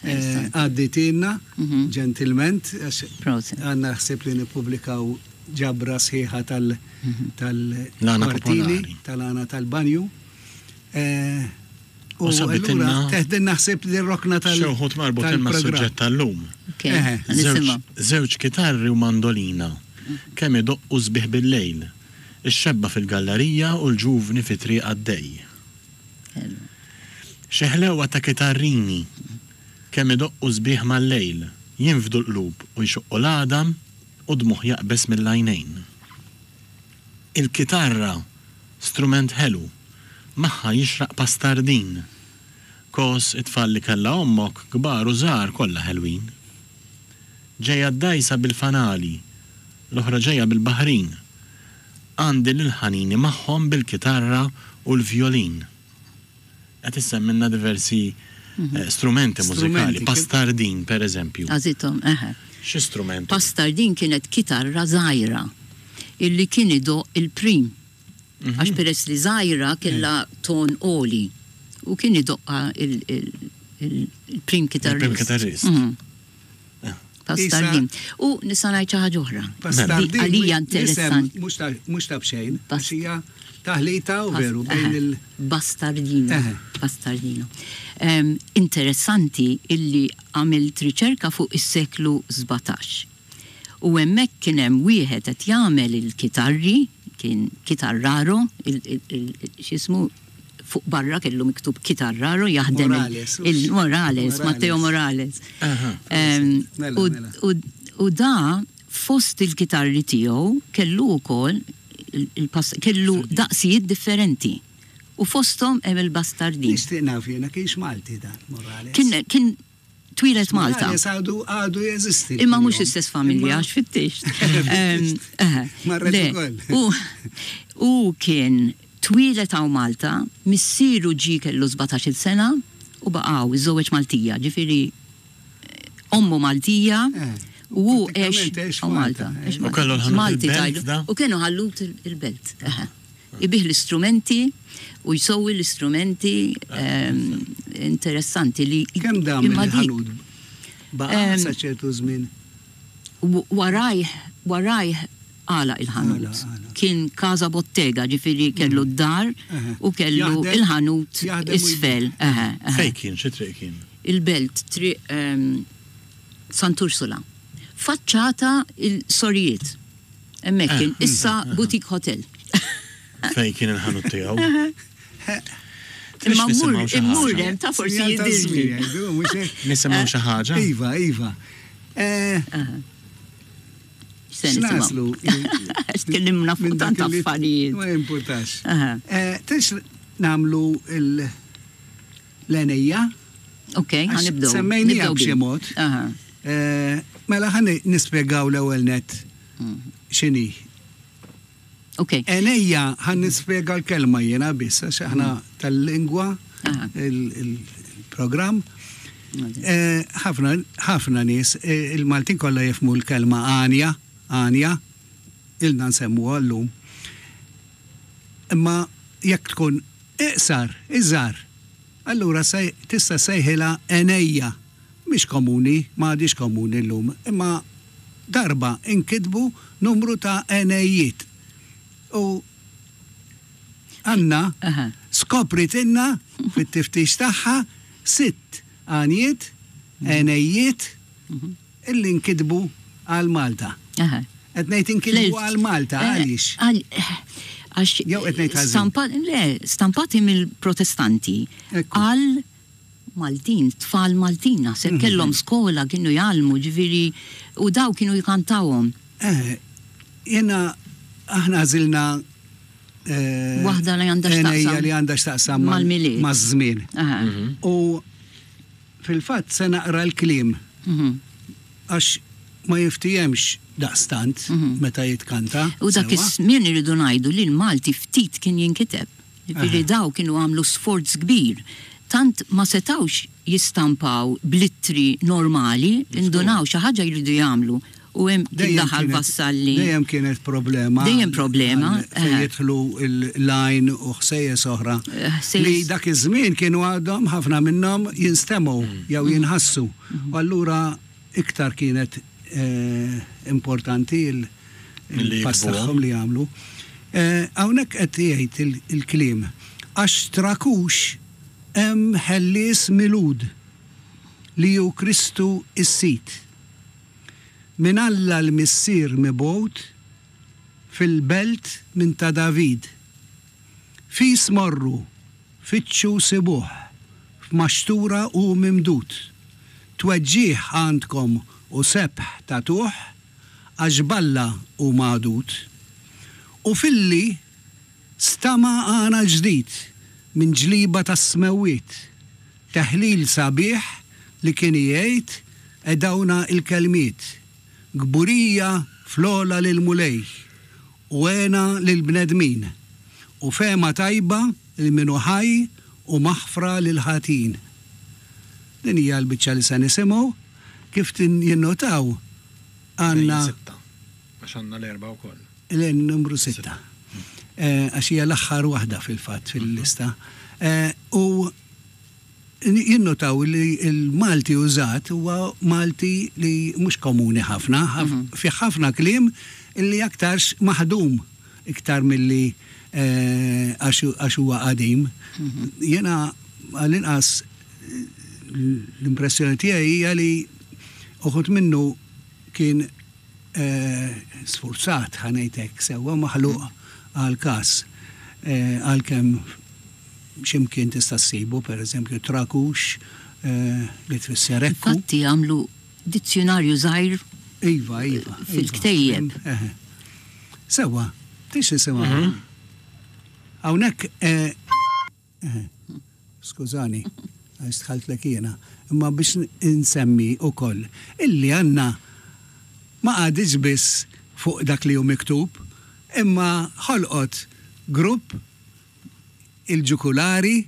għaddietilna ġentilment, għax għandna ħsieb li nippubblikaw ġabra sħiħa tal-kwartini, tal-għana tal-banju. U allura teħdilna ħsieb din rokna tal. Xi wħud marbutin mas-suġġett tal-lum. Żewġ kitarri u mandolina, kemm idoqqu sbieħ bil-lejl. Ix-xebba fil-gallarija u l-ġuvni fit-triq għaddej. Xi ħlewwa ta' kitarrini, kemm idoqqu sbieħ mal-lejl, jinfdu l-qlub u jxoqqu l-għadam u d-dmugħ jaqbeż mill-għajnejn. Il-kitarra, strument ħelu, magħha jixraq pastardin. Kos it-tfal li kellha ommok, kbar u żgħar kollha ħelwin. Ġejja d-dgħajsa bil-fanali, l-oħra ġejja bil-baħrin. Għandi lil ħanini magħhom bil-kitarra u l-vjolin. Qed issemmilna diversi strumenti mużikali. Pastardin, per eżempju. Għażithom, eħe. Xi strument hu? Pastardin kienet kitarra żgħira illi kien idoqq il-prim. Għax peress li żgħira kellha ton għoli u kien idoqqha il-prim kitarrist. Il-prim kitarrist. Pastardin. U nista' ngħid xi ħaġa oħra. Pastardin. Għalija interessanti. Mhux ta' b'xejn, għax hija taħlita u veru bejn il- Bastardino. Bastardino. Interessanti illi għamilt riċerka fuq is-seklu 17. U hemmhekk kien hemm wieħed qed jagħmel il-kitarri, kien kitarraro, x'ismu, fuq barra kellu miktub kitarraro jaħdem il-Morales, Matteo Morales. Mela, mela. U da fost il-kitarri tiegħu kellu wkoll kellu daqsijiet differenti. U fosthom hemm il-bastardin. Nixtieq naf jiena kienx Malti dan Morales. Kien twieled Malta. Morales għadu għadu jeżisti. Imma mhux l-istess familja għax fittixt. Marret ukoll. U kien twieled hawn Malta, missieru ġie kellu 17-il sena u baqa' hawn, iżżewweġ Maltija, ġifieri ommu Maltija u hu għex hawn Malta. U kellu l-ħanut il-belt da? U kienu ħallut il-belt. Ibigħ l-istrumenti u jsewwi l-istrumenti interessanti li. Kemm dam il-ħanut? Baqa' sa ċertu żmien? Warajh, warajh għalaq il-ħanut. Kien casa bottega, ġifieri kellu d-dar u kellu l-ħanut isfel. Fejn kien? Xi triq kien? Il-Belt, triq Sant'Ursula. Faċċata il-sorijiet. Hemmhekk kien issa boutique hotel. Fejn kien il-ħanut tiegħu? Imma mmur immur hemm ta' forsi jidhirli. Nisimgħu xi ħaġa? Iva, iva. X'naslu? Tkellimna fuq tant affarijiet. Ma jimpurtax. Tix nagħmlu l-għenejja? Ok, ħanibdew. Semmejnija b'xi mod. Mela ħa nispjegaw l-ewwel net x'inhi. Ok. Għenejja ħa nispjega l-kelma jiena biss għax aħna tal-lingwa il-programm. Ħafna ħafna nies il-Maltin kollha jifhmu l-kelma għanja, għanja, ilna nsemmuha llum. Imma jekk tkun iqsar, iżgħar, allura tista' ssejħilha għenejja. Mhix komuni, ma għadhiex komuni llum, imma darba inkitbu numru ta' għenejjiet. U Anna skopritilna fit-tiftix tagħha sitt għanjiet, għenejjiet, illi nkitbu għal Malta. Qed ngħid inkitbu għal Malta għaliex? Għax Jew qed ngħid ħażin? Le, stampati mill-Protestanti għal Maltin, tfal Maltin naħseb kellhom skola kienu jgħallmu ġifieri u daw kienu jkantawhom. Eh, jiena aħna għażilna waħda li għandha x'taqsam li għandha x'taqsam mal-milied. Maż-żmien. U fil-fatt se naqra l-kliem għax ma jiftihemx daqstant meta jitkanta. U dak iż-żmien irridu ngħidu li l-Malti ftit kien jinkiteb. Jiġifieri dawn kienu għamlu sforz kbir. Tant ma setgħux jistampaw bl-ittri normali, indunaw xi ħaġa jridu jagħmlu u hemm kien daħal Vassalli. Dejjem kienet problema. Dejjem problema. Fejn jidħlu l-għajn u ħsejjes oħra. Li dak iż-żmien kienu għadhom ħafna minnhom jinstemgħu jew jinħassu. U allura iktar kienet importanti l-pass tagħhom li jagħmlu. Hawnhekk qed jgħid il-kliem, Għax trakux hemm ħellies milud, li hu Kristu s-Sid. Minn Alla l-Missier mibgħut fil-belt minn ta' David. Fis morru, Fittxu sibuh, f'maxtura hu mimdud. Tweġġigħ għandkom u sebħ tagħtuh, għax b'Alla hu magħdud. U filli stama' għana ġdid minn ġliba tas-smewwiet, teħlil sabiħ li kien igħid edawna il-kelmiet, Kburija fl-ogħla lill-Mulej, u hena lill-bnedmin, u fehma tajba. lil min hu ħaj u maħfra lill-ħatin. Din hija l-biċċa li se nisimgħu. Kif jinnotaw għandna. Sitta. Għax għandna l-erbgħa wkoll. Le, numru sitta. Għax hija l-aħħar waħda fil-fatt fil-lista. U jinnotaw li l-Malti użat huwa Malti li mhux komuni ħafna, fih ħafna kliem li aktarx maħdum iktar milli għax huwa qadim. Jiena għall-inqas l-impressjoni tiegħi hija li uħud minnu kien sfurzat, ħa ngħid hekk, sewwa maħluq għall-każ, għalkemm xi mkien tista' ssibu, per eżempju, trakux li tfisser ekku. Infatti għamlu dizzjunarju żgħir Iva, iva. Fil-ktejjeb. Sewwa, tix nisimgħu. Hawnhekk Skużani, għax dħaltlek jiena, imma biex insemmi wkoll illi Anna ma qagħditx biss fuq dak li hu miktub, imma ħolqot grupp, il-Ġukulari,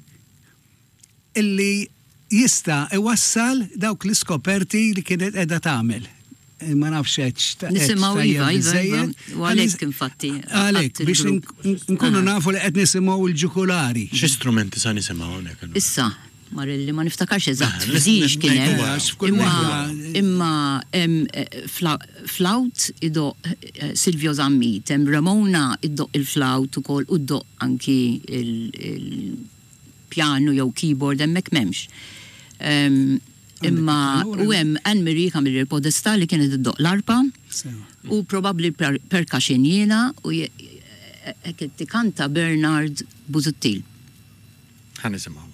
illi jista' iwassal dawk l-iskoperti li kienet qiegħda tagħmel. Ma nafx hekk. Nisimgħu iva, iva, iva. U għalhekk infatti. Għalhekk biex nkunu nafu li qed nisimgħu l-ġukulari. Xi strumenti sa nisimgħu hawnhekk? Issa, Marelli, ma niftakarx eżatt f'żiex kien hemm. Imma hemm flawt idoqq Silvio Zammit, hemm Ramona iddoqq il-flawt ukoll u ddoqq anki il- pjanu jew keyboard hemmhekk m'hemmx. Imma u hemm Anne Marie Camilleri Podestà li kienet iddoqq l-arpa u probabbli percussion jiena u hekk tikanta Bernard Busuttil. Ħa nisimgħuha.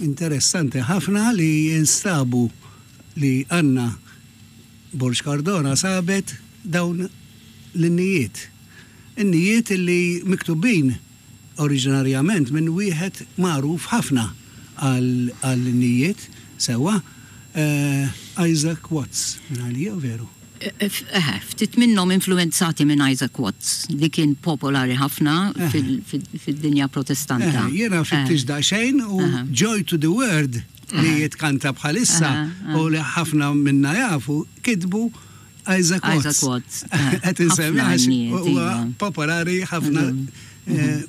Interessanti ħafna li jinstabu li Anna Borg Cardona sabet dawn l-innijiet. Innijiet li miktubin oriġinarjament minn wieħed magħruf ħafna għall-innijiet, sewwa, Isaac Watts, minn għalija, veru? Eħe, ftit minnhom influwenzati minn Isaac Watts, li kien popolari ħafna fid-dinja Protestanta. Eħe, jiena fittix daqsxejn u Joy to the World li jitkanta bħalissa u li ħafna minna jafu, kitbu Isaac Watts. Isaac Watts. Qed insemmi għax huwa popolari ħafna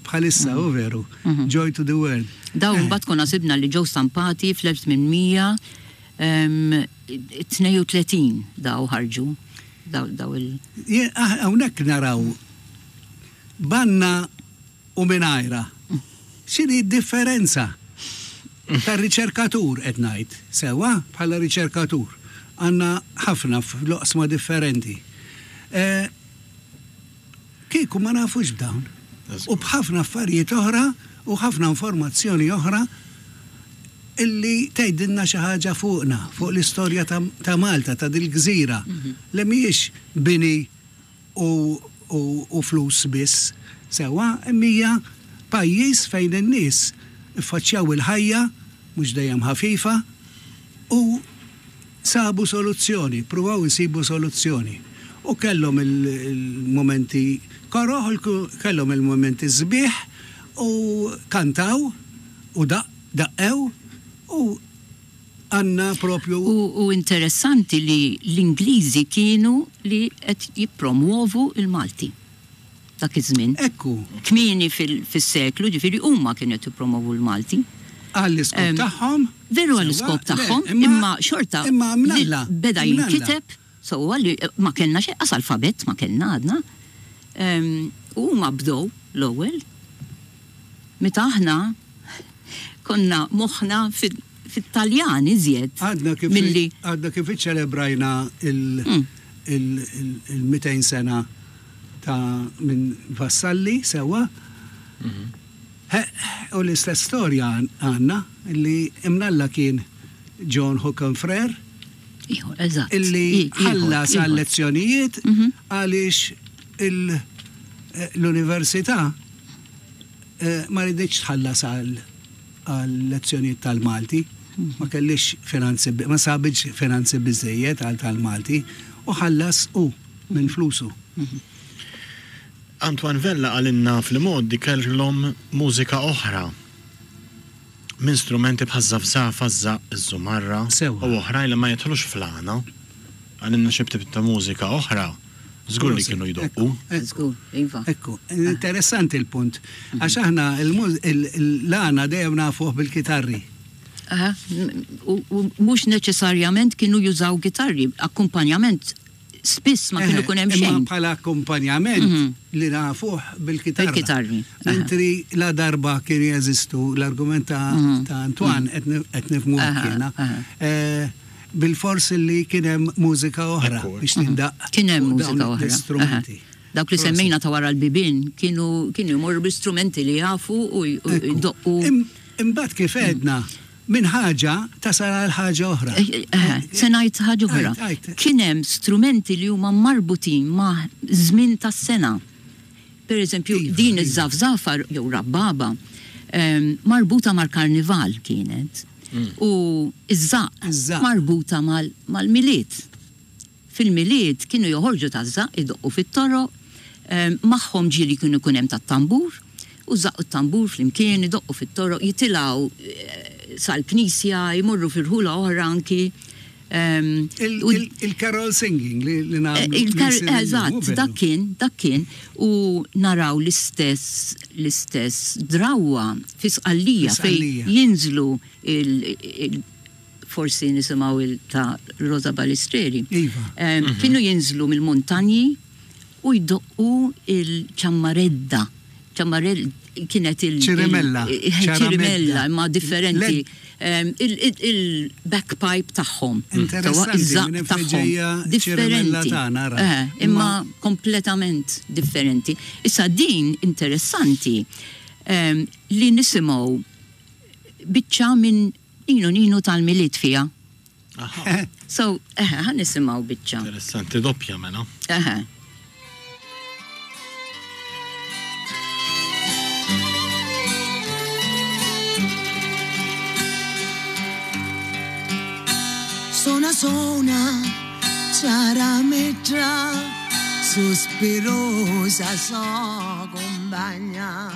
bħalissa, u veru. Joy to the World. Dawn mbagħad konna sibna li ġew stampati fl-1832 daw ħarġu daw il. Hawnhekk naraw banna u mingħajrha. X'inhi d-differenza? Tar-riċerkatur qed ngħid, sewwa, bħala riċerkatur. Għandna ħafna fl-oqsma differenti. Kieku ma nafux b'dawn. U b'ħafna affarijiet oħra u ħafna informazzjoni oħra illi tgħidilna xi ħaġa fuqna, fuq l-istorja ta' Malta, ta' dil-gżira, li mhijiex bini. u flus biss, sewwa, imma hija pajjiż fejn in-nies iffaċċjaw il-ħajja, mhux dejjem ħafifa, u sabu soluzzjoni, ppruvaw isibu soluzzjoni. U kellhom il-mumenti koroh, kellhom il-mumenti sbieħ u kantaw u daqqew u għandna propju. U interessanti li l-Ingliżi kienu li qed jippromwovu l-Malti dak iż-żmien. Ekku. Kmieni fis-seklu, ġifieri huma kienu qed jippromovu l-Malti. Għall-iskop tagħhom. Veru għall-iskop tagħhom, imma xorta beda jinkiteb sewwa li ma kellna xejn, qas alfabett ma kellna għadna. U huma bdew l-ewwel meta aħna konna moħħna fit-Taljan iżjed milli. Għadna kif iċċelebrajna il-200 sena ta' minn Vassalli sewwa. U l-istess storja għandna li imnalla kien John Hookham Frere illi ħallas għal-lezzjonijiet għaliex l-università ma riditx tħallas għal lezzjonijiet tal-Malti, ma kellhiex finanzi, ma sabitx finanzi biżżejjed għal tal-Malti u ħallas hu minn flusu. Antoine Vella qalilna fl-imgħoddi kellhom mużika oħra minn strumenti bħaż-żafżafa, ż-żaqq, iż-żumarra u oħrajn li ma jidħlux fl-għana. Qalilna xi tip ta' mużika oħra żgur li kienu jdoqqu. Żgur, iva. Ekku, interessanti l-punt. Għax aħna l-għana dejjem nafuh bil-kitarri. U mhux neċessarjament kienu jużaw kitarri, akkumpanjament spiss ma kienu jkun hemm xejn. Imma bħala akkumpanjament li nafuh bil-kitarra. Bil-kitarri. Mentri la darba kienu jeżistu l-argument ta' Antoine qed nifhmu hekk jiena. Bilfors li kien hemm mużika oħra biex tindaqq. Kien hemm mużika oħra. L-istrumenti. Dawk li semmejna ta' wara l-bibien kienu kienu jmorru bl-istrumenti li jafu u jdoqqu. Imbagħad kif għedna, minn ħaġa tasal għal ħaġa oħra. Se ngħid ħaġa oħra. Kien hemm strumenti li huma marbutin ma' żmien tas-sena. Per eżempju, din iż-żafżafa jew rabbaba marbuta mal-karnival kienet. U ż-żaqq marbuta mal-Milied. Fil-Milied kienu joħorġu taż-żaqq idoqqu fit-toroq, magħhom ġieli kienu jkun hemm tat-tambur, u ż-żaqq u t-tambur flimkien idoqqu fit-toroq, jitilgħu sal-knisja, jmorru fi rħula oħra anki. Il-carol singing li nagħmlu. Eżatt, dak kien, dak kien. U naraw l-istess l-istess drawwa fi Sqallija fejn jinżlu il forsi nisimgħu il ta' Rosa Balistreri. Iva. Kienu jinżlu mill-muntanji u jdoqqu il-ċammaredda. Ċammarell kienet il- Ċirimella. Ċirimella, imma differenti. Il-backpipe tagħhom. Interessanti, tagħhom. Differenti. Imma kompletament differenti. Issa din interessanti li nisimgħu biċċa minn Ninu Ninu tal-Milied fiha. So, eħe, ħa nisimgħu biċċa. Interessanti doppja mela. Eħe. Sona sona ciarametra sospirosa so compagna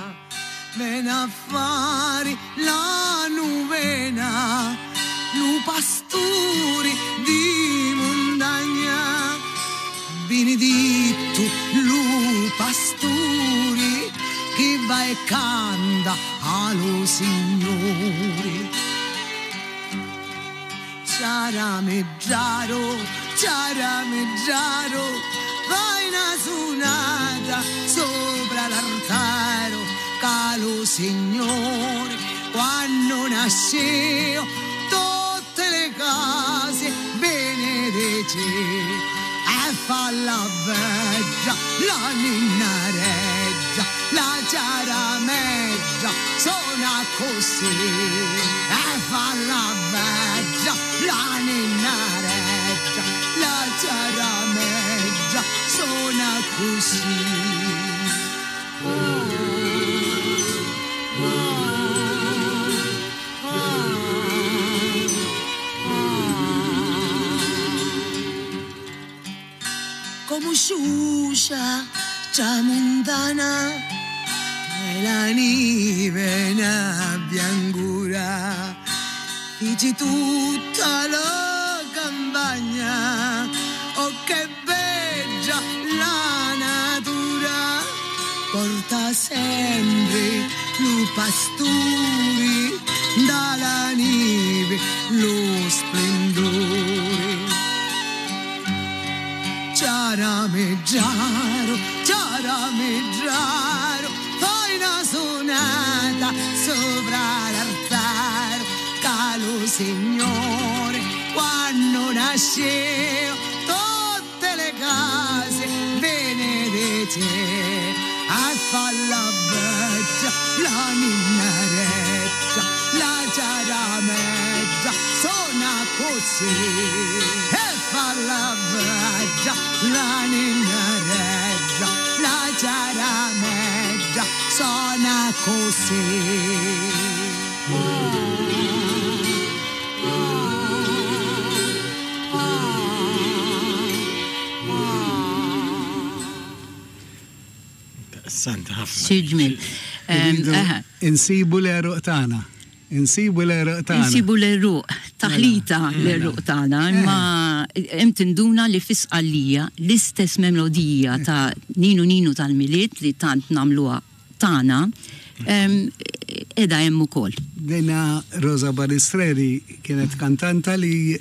Vena a fari la nuvena lu pasturi di mundagna Binidittu lu pasturi chi va e canta a lu Signuri Ciarameggiaro, ciarameggiaro, fai una sunata sopra l'altaro, ca lo Signore quando nasceo tutte le case benedice e fa la veggia, la ninna reggia, la ciarameggia sona così e fa la veggia, la ninna reggia, la ciarameggia sona così. così. Come sciuscia tramontana e la neve na biancura dici tutta la campagna oh che bella la natura porta sempre lu pasturi dalla neve lo splendore Ciarameggiaro, ciarameggiaro, fai una sonata sopra l'altare, caro Signore, quando nasce tutte le case benedette, a far la vecchia, la ninnareccia, la ciarameggia, suona così, e fa la vecchia, la ninnareccia, la ciarameggia, suona così. Interessanti ħafna. Xi ġmiel. Insibu l-għeruq tagħna. Insibu l-għeruq tagħna. Insibu l-għeruq, taħlita Mela. l-għeruq tagħna, imma hemm tinduna li fi Sqallija l-istess melodija ta' Ninu Ninu tal-Milied li tant nagħmluha tagħna qiegħda hemm ukoll. Dina Rosa Balistreri kienet kantanta li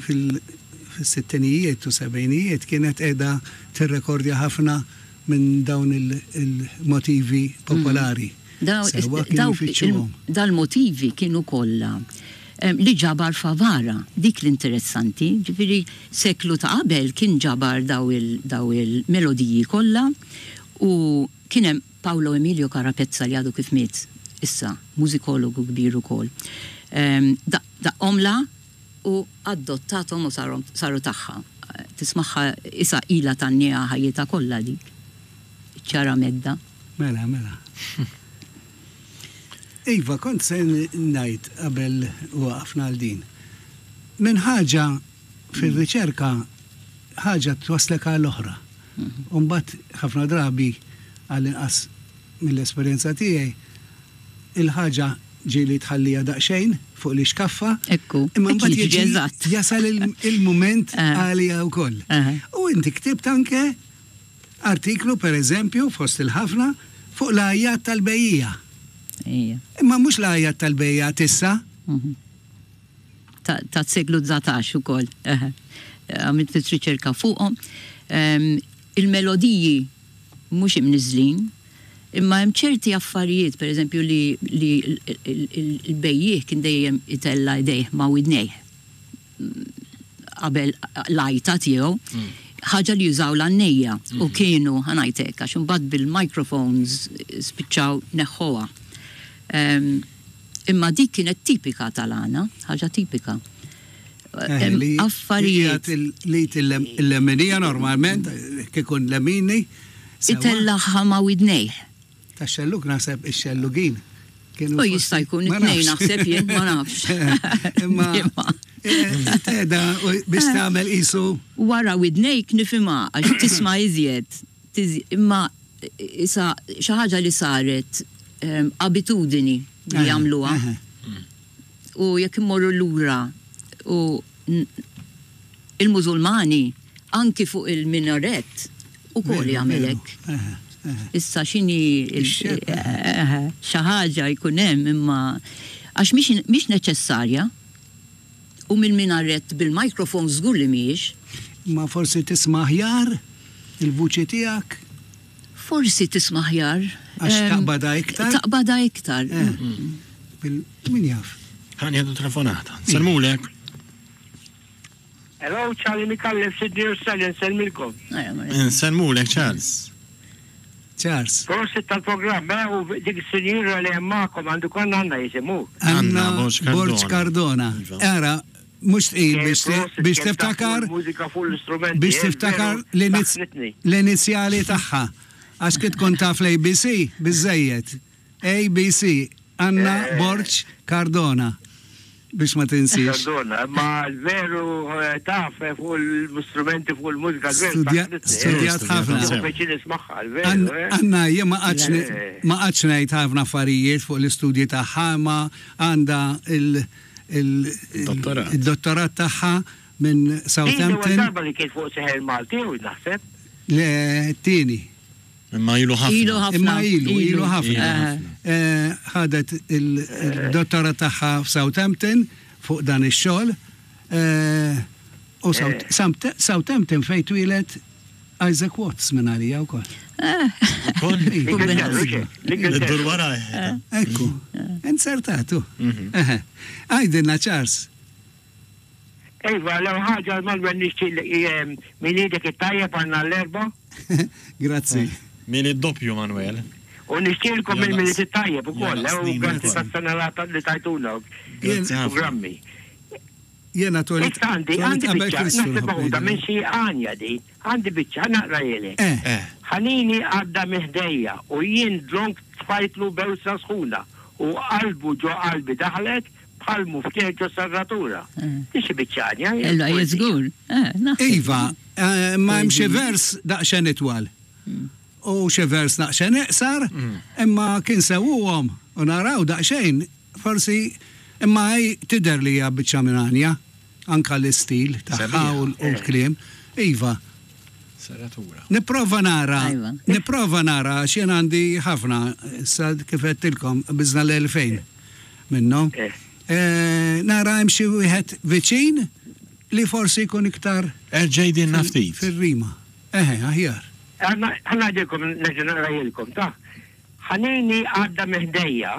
fil-sittinijiet u sebgħinijiet kienet qiegħda tirrekordja ħafna minn dawn il-motivi popolari. Sewwa kienu jfittxuhom. Dal-motivi kienu kollha li ġabar Favara, dik l-interessanti, ġifieri seklu ta' qabel kien ġabar daw il-melodiji kollha u kien hemm Paolo Emilio Carapezza li għadu kif miet issa, mużikologu kbir ukoll. Daqqhomlha u adottathom u saru tagħha. Tismagħha isa ilha tgħanniha ħajjitha kollha dik. Iċ-ċaramedda. Mela, mela. Iva, kont se ngħid qabel waqafna għal din. Minn ħaġa fir-riċerka ħaġa twasslek għal oħra. U mbagħad ħafna drabi għall-inqas mill-esperjenza tiegħi, il-ħaġa ġieli tħalliha daqsxejn fuq l-ixkaffa, Ekku. imma mbagħad Jiġri jiġi eżatt. jasal il-mument għaliha wkoll. U inti ktibt anke artiklu, per eżempju, fost il-ħafna, fuq l-għajjat tal-bejjiegħa. Ejja. Imma mhux l-għajjat tal-bejjiegħa t'issa. Ta' seklu 19 ukoll. Għamilt ftit riċerka fuqhom. Il-melodiji mhux imniżżlin, imma hemm ċerti affarijiet, per eżempju, li l-bejjiegħ kien dejjem itella' idejh ma' widnejh qabel l-għajta tiegħu, ħaġa li jużaw l-għannejja u kienu, ħa ngħid hekk, għax imbagħad bil-microphones spiċċaw neħħuha. Imma dik kienet tipika tal-għana, ħaġa tipika. Eh, Affarijiet. Li il-leminija normalment, kikun lemini. Itellaħħa ma' widnejh. Ta' xelluk naħseb ix-xellugin. U jista' jkun it-tnejn naħseb jien, ma nafx. Imma teda biex tagħmel isu. Wara widnejk nifhimha għax tisma' iżjed. Imma isa xi ħaġa li saret abitudini li jagħmluha. U jekk immorru lura u il-Mużulmani anki fuq il-minaret ukoll jagħmel hekk. Issa x'inhi xi ħaġa jkun hemm imma għax mhix neċessarja u mill-minaret bil-microphone żgur li mhijiex. Imma forsi tisma' aħjar il-vuċi tiegħek? Forsi tisma' aħjar. Għax taqbadha iktar? Taqbadha iktar. Min jaf? Ħa nieħdu telefonata. Nsellmulek. Hello, Charlie Micallef, Sydney Australia, nsellmilkom. Nsellmulek, Charles. Charles. Prosit tal-programm, eh, u dik is-sinjura li hemm magħkom għandu konna għandna jisimu. Anna Borg Cardona. Iva. Ara, Mhux tqil biex tiftakar. Biex tiftakar l-inizjali tagħha. Għax kif tkun taf l-ABC, biżżejjed. ABC, Anna Borg Cardona. Biex ma tinsiex. Cardona, imma l-veru taf fuq l-istrumenti fuq il-mużika l-veru. Studjat ħafna. Anna, jien ma qgħadx ngħid ħafna affarijiet fuq l-istudji tagħha, imma għandha il-dottorat tagħha minn Southampton. Din darba li kien fuq Seħer Malti, u naħseb. Le, t-tieni. Imma ilu ħafna. Ilu ħafna. Imma ilu, ilu ħafna. Ħadet il-dottorat tagħha f'Southampton fuq dan ix-xogħol. U Southampton fejn twieled Isaac Watts minn għalija wkoll. Ukoll? Iddur warajh. Ekku, inzertatu. Għidilna Charles. Iva, l-ewwel ħaġa Manuel nixtieq Miliedek it-tajjeb għal nhar l-Erbgħa. Grazzi. Milied doppju Manuel. U nixtieqilkom il-Milied it-tajjeb ukoll, u grazzi tas-sena li tajtuna programmi. Jiena twelidt Issa għandi għandi biċċa, naħseb meħuda minn xi għanja di, għandi biċċa, ħa naqrahielek. Ħanini għadda minn ħdejja u jien dlonk tfajtlu bewsa sħuna u qalbu ġo qalbi daħlet Bħal muftieħ ġo serratura. Di xi biċċa għanja. Ella hija żgur. Iva, imma hemm xi vers daqsxejn itwal. U xi vers daqsxejn iqsar, imma kien sewwuhom u naraw daqsxejn, forsi imma hi tidher li hija biċċa minn għanja, anke l-istil tagħha u l-kliem. Iva. Serratura. Nipprova nara, nipprova nara għax jien għandi ħafna, issa kif għedtilkom qbiżna l-2000 minnhom. Nara hemm xi wieħed viċin li forsi jkun iktar. Erġa' għidilna ftit. Fir-rima. Eħe, aħjar. Ħa ngħidilkom, nerġa' naqrajilkom, ta. Ħanini għadda minn ħdejja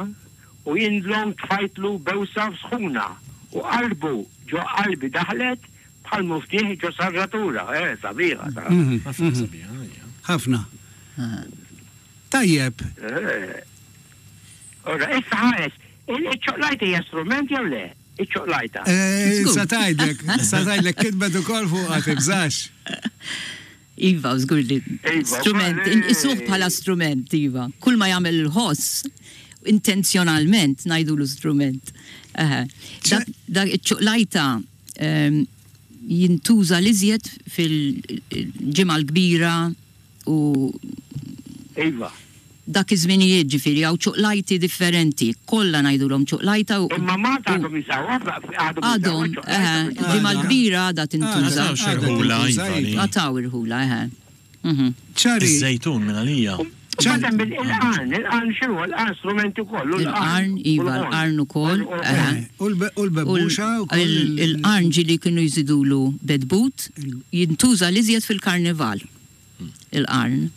u jien dlonk tfajtlu bewsa sħuna u qalbu ġo qalbi daħlet Bħal muftieħ ġo sarratura, eh, sabiħa ta. Ħafna sabiħa, hija. Ħafna. Tajjeb. Ora, issa ħares, iċ-ċoqlajta hija strument jew le? Iċ-ċoqlajta. Sa tgħidlek, sa tgħidlek kitbet ukoll fuqha tibżax. Iva, żgur li strument, inqisuh bħala strument, iva. Kull ma jagħmel il-ħoss, intenzjonalment ngħidulu strument. Dak iċ-ċuqlajta jintuża l-iżjed fil-Ġimgħa l-Kbira u Iva. Dak iż-żminijiet ġifieri hawn ċuqlajti differenti, kollha ngħidulhom ċuqlajta u. Imma Malta għadhom jużawha, għadhom Għadhom, eħe, il-Ġimgħa l-Kbira għadha tintuża. Għad hawn irħula, iva. Għad hawn irħula, eħe. Ċari. Iż-żejtun minn għalija. Imbagħad hemm il-qarn, il-qarn x'inhu? Il-qarn strument ukoll, u Il-qarn, iva, l-qarn ukoll, eħe. U l-bebbuxa wkoll. Il-qarn ġieli kienu jżidulu bedbut, jintuża l-iżjed fil-karnival. Il-qarn.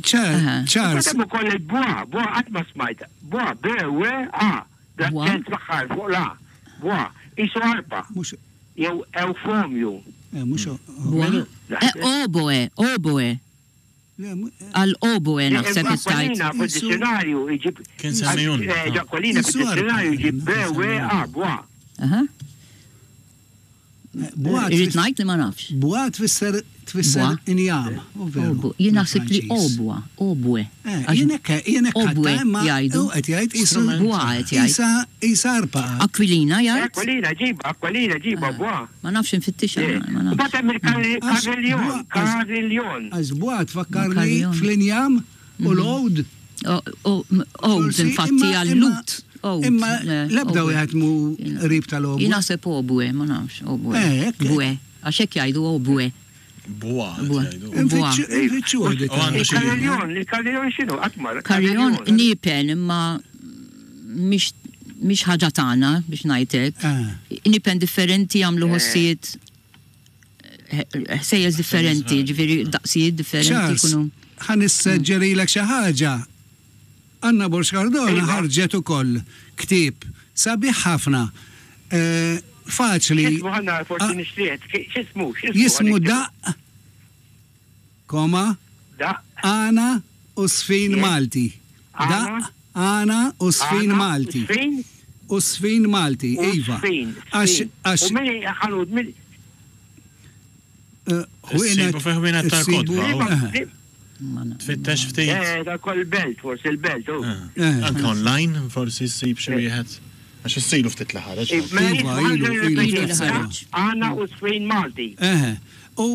Charles. Imbagħad hemm ukoll il-bwa, bwa qatt ma smajt. Bwa, B W A, bl-aċċent fl-aħħar fuq l-A. Bwa, qisu arpa. Jew ewfomju. Bwa? Oboe, oboe. Għal oboe naħseb qed tgħid. Ġakolina fid-dizzjonarju jġib. Kien semmihulna. Ġakolina fid-dizzjonarju jġib B W A, bwa. Irrid ngħid li ma nafx. Bwa tfisser tfisser injam, u veru. Jien naħseb li obwa, obwe. Eh, jien hekk jien hekk Obwe jgħidu. Qed jgħid qisu Bwa qed jgħid. Isa isa arpa. Aquilina jgħid. Aquilina ġiba, Aquilina ġiba bwa. Ma nafx infittixha. Ma nafx. Mbagħad hemm il-kariljon, kariljon. Għax bwa tfakkarni fl-injam u l-għod. Għod infatti għal-lut. Imma l-ebda wieħed mu qrib tal-obwe. Jien naħseb obwe, ma nafx, obwe. Bwe, għax hekk jgħidu obwe. Bwa. Bwa. Il-kariljon, il-kariljon x'inhu? Qatt ma. Kariljon niepen imma mhix mhix ħaġa tagħna biex ngħid hekk. Niepen differenti jagħmlu ħossijiet ħsejjes differenti, ġifieri daqsijiet differenti jkunu. Ħa nisseġġerilek xi ħaġa. Anna Borg Cardona ħarġet ukoll ktieb sabiħ ħafna, faċli. X'ismu ħa nara forsi nixtrih, x'ismu, x'ismu? Jismu Daqq, koma, Għana u Żfin Malti. Daqq, Għana u Żfin Malti. U sfin Malti, iva. Sfin. Għax. U min ħanut min. Ħwienet. Fi ħwienet tal-kotba. Tfittex ftit. Eh, ta' kol belt, forsi il-belt. Anke online, forsi ssib xi wieħed. Għax issilu ftit li ħareġ. Iva, ilu, ilu ftit ħareġ. Għana u sfin Malti. U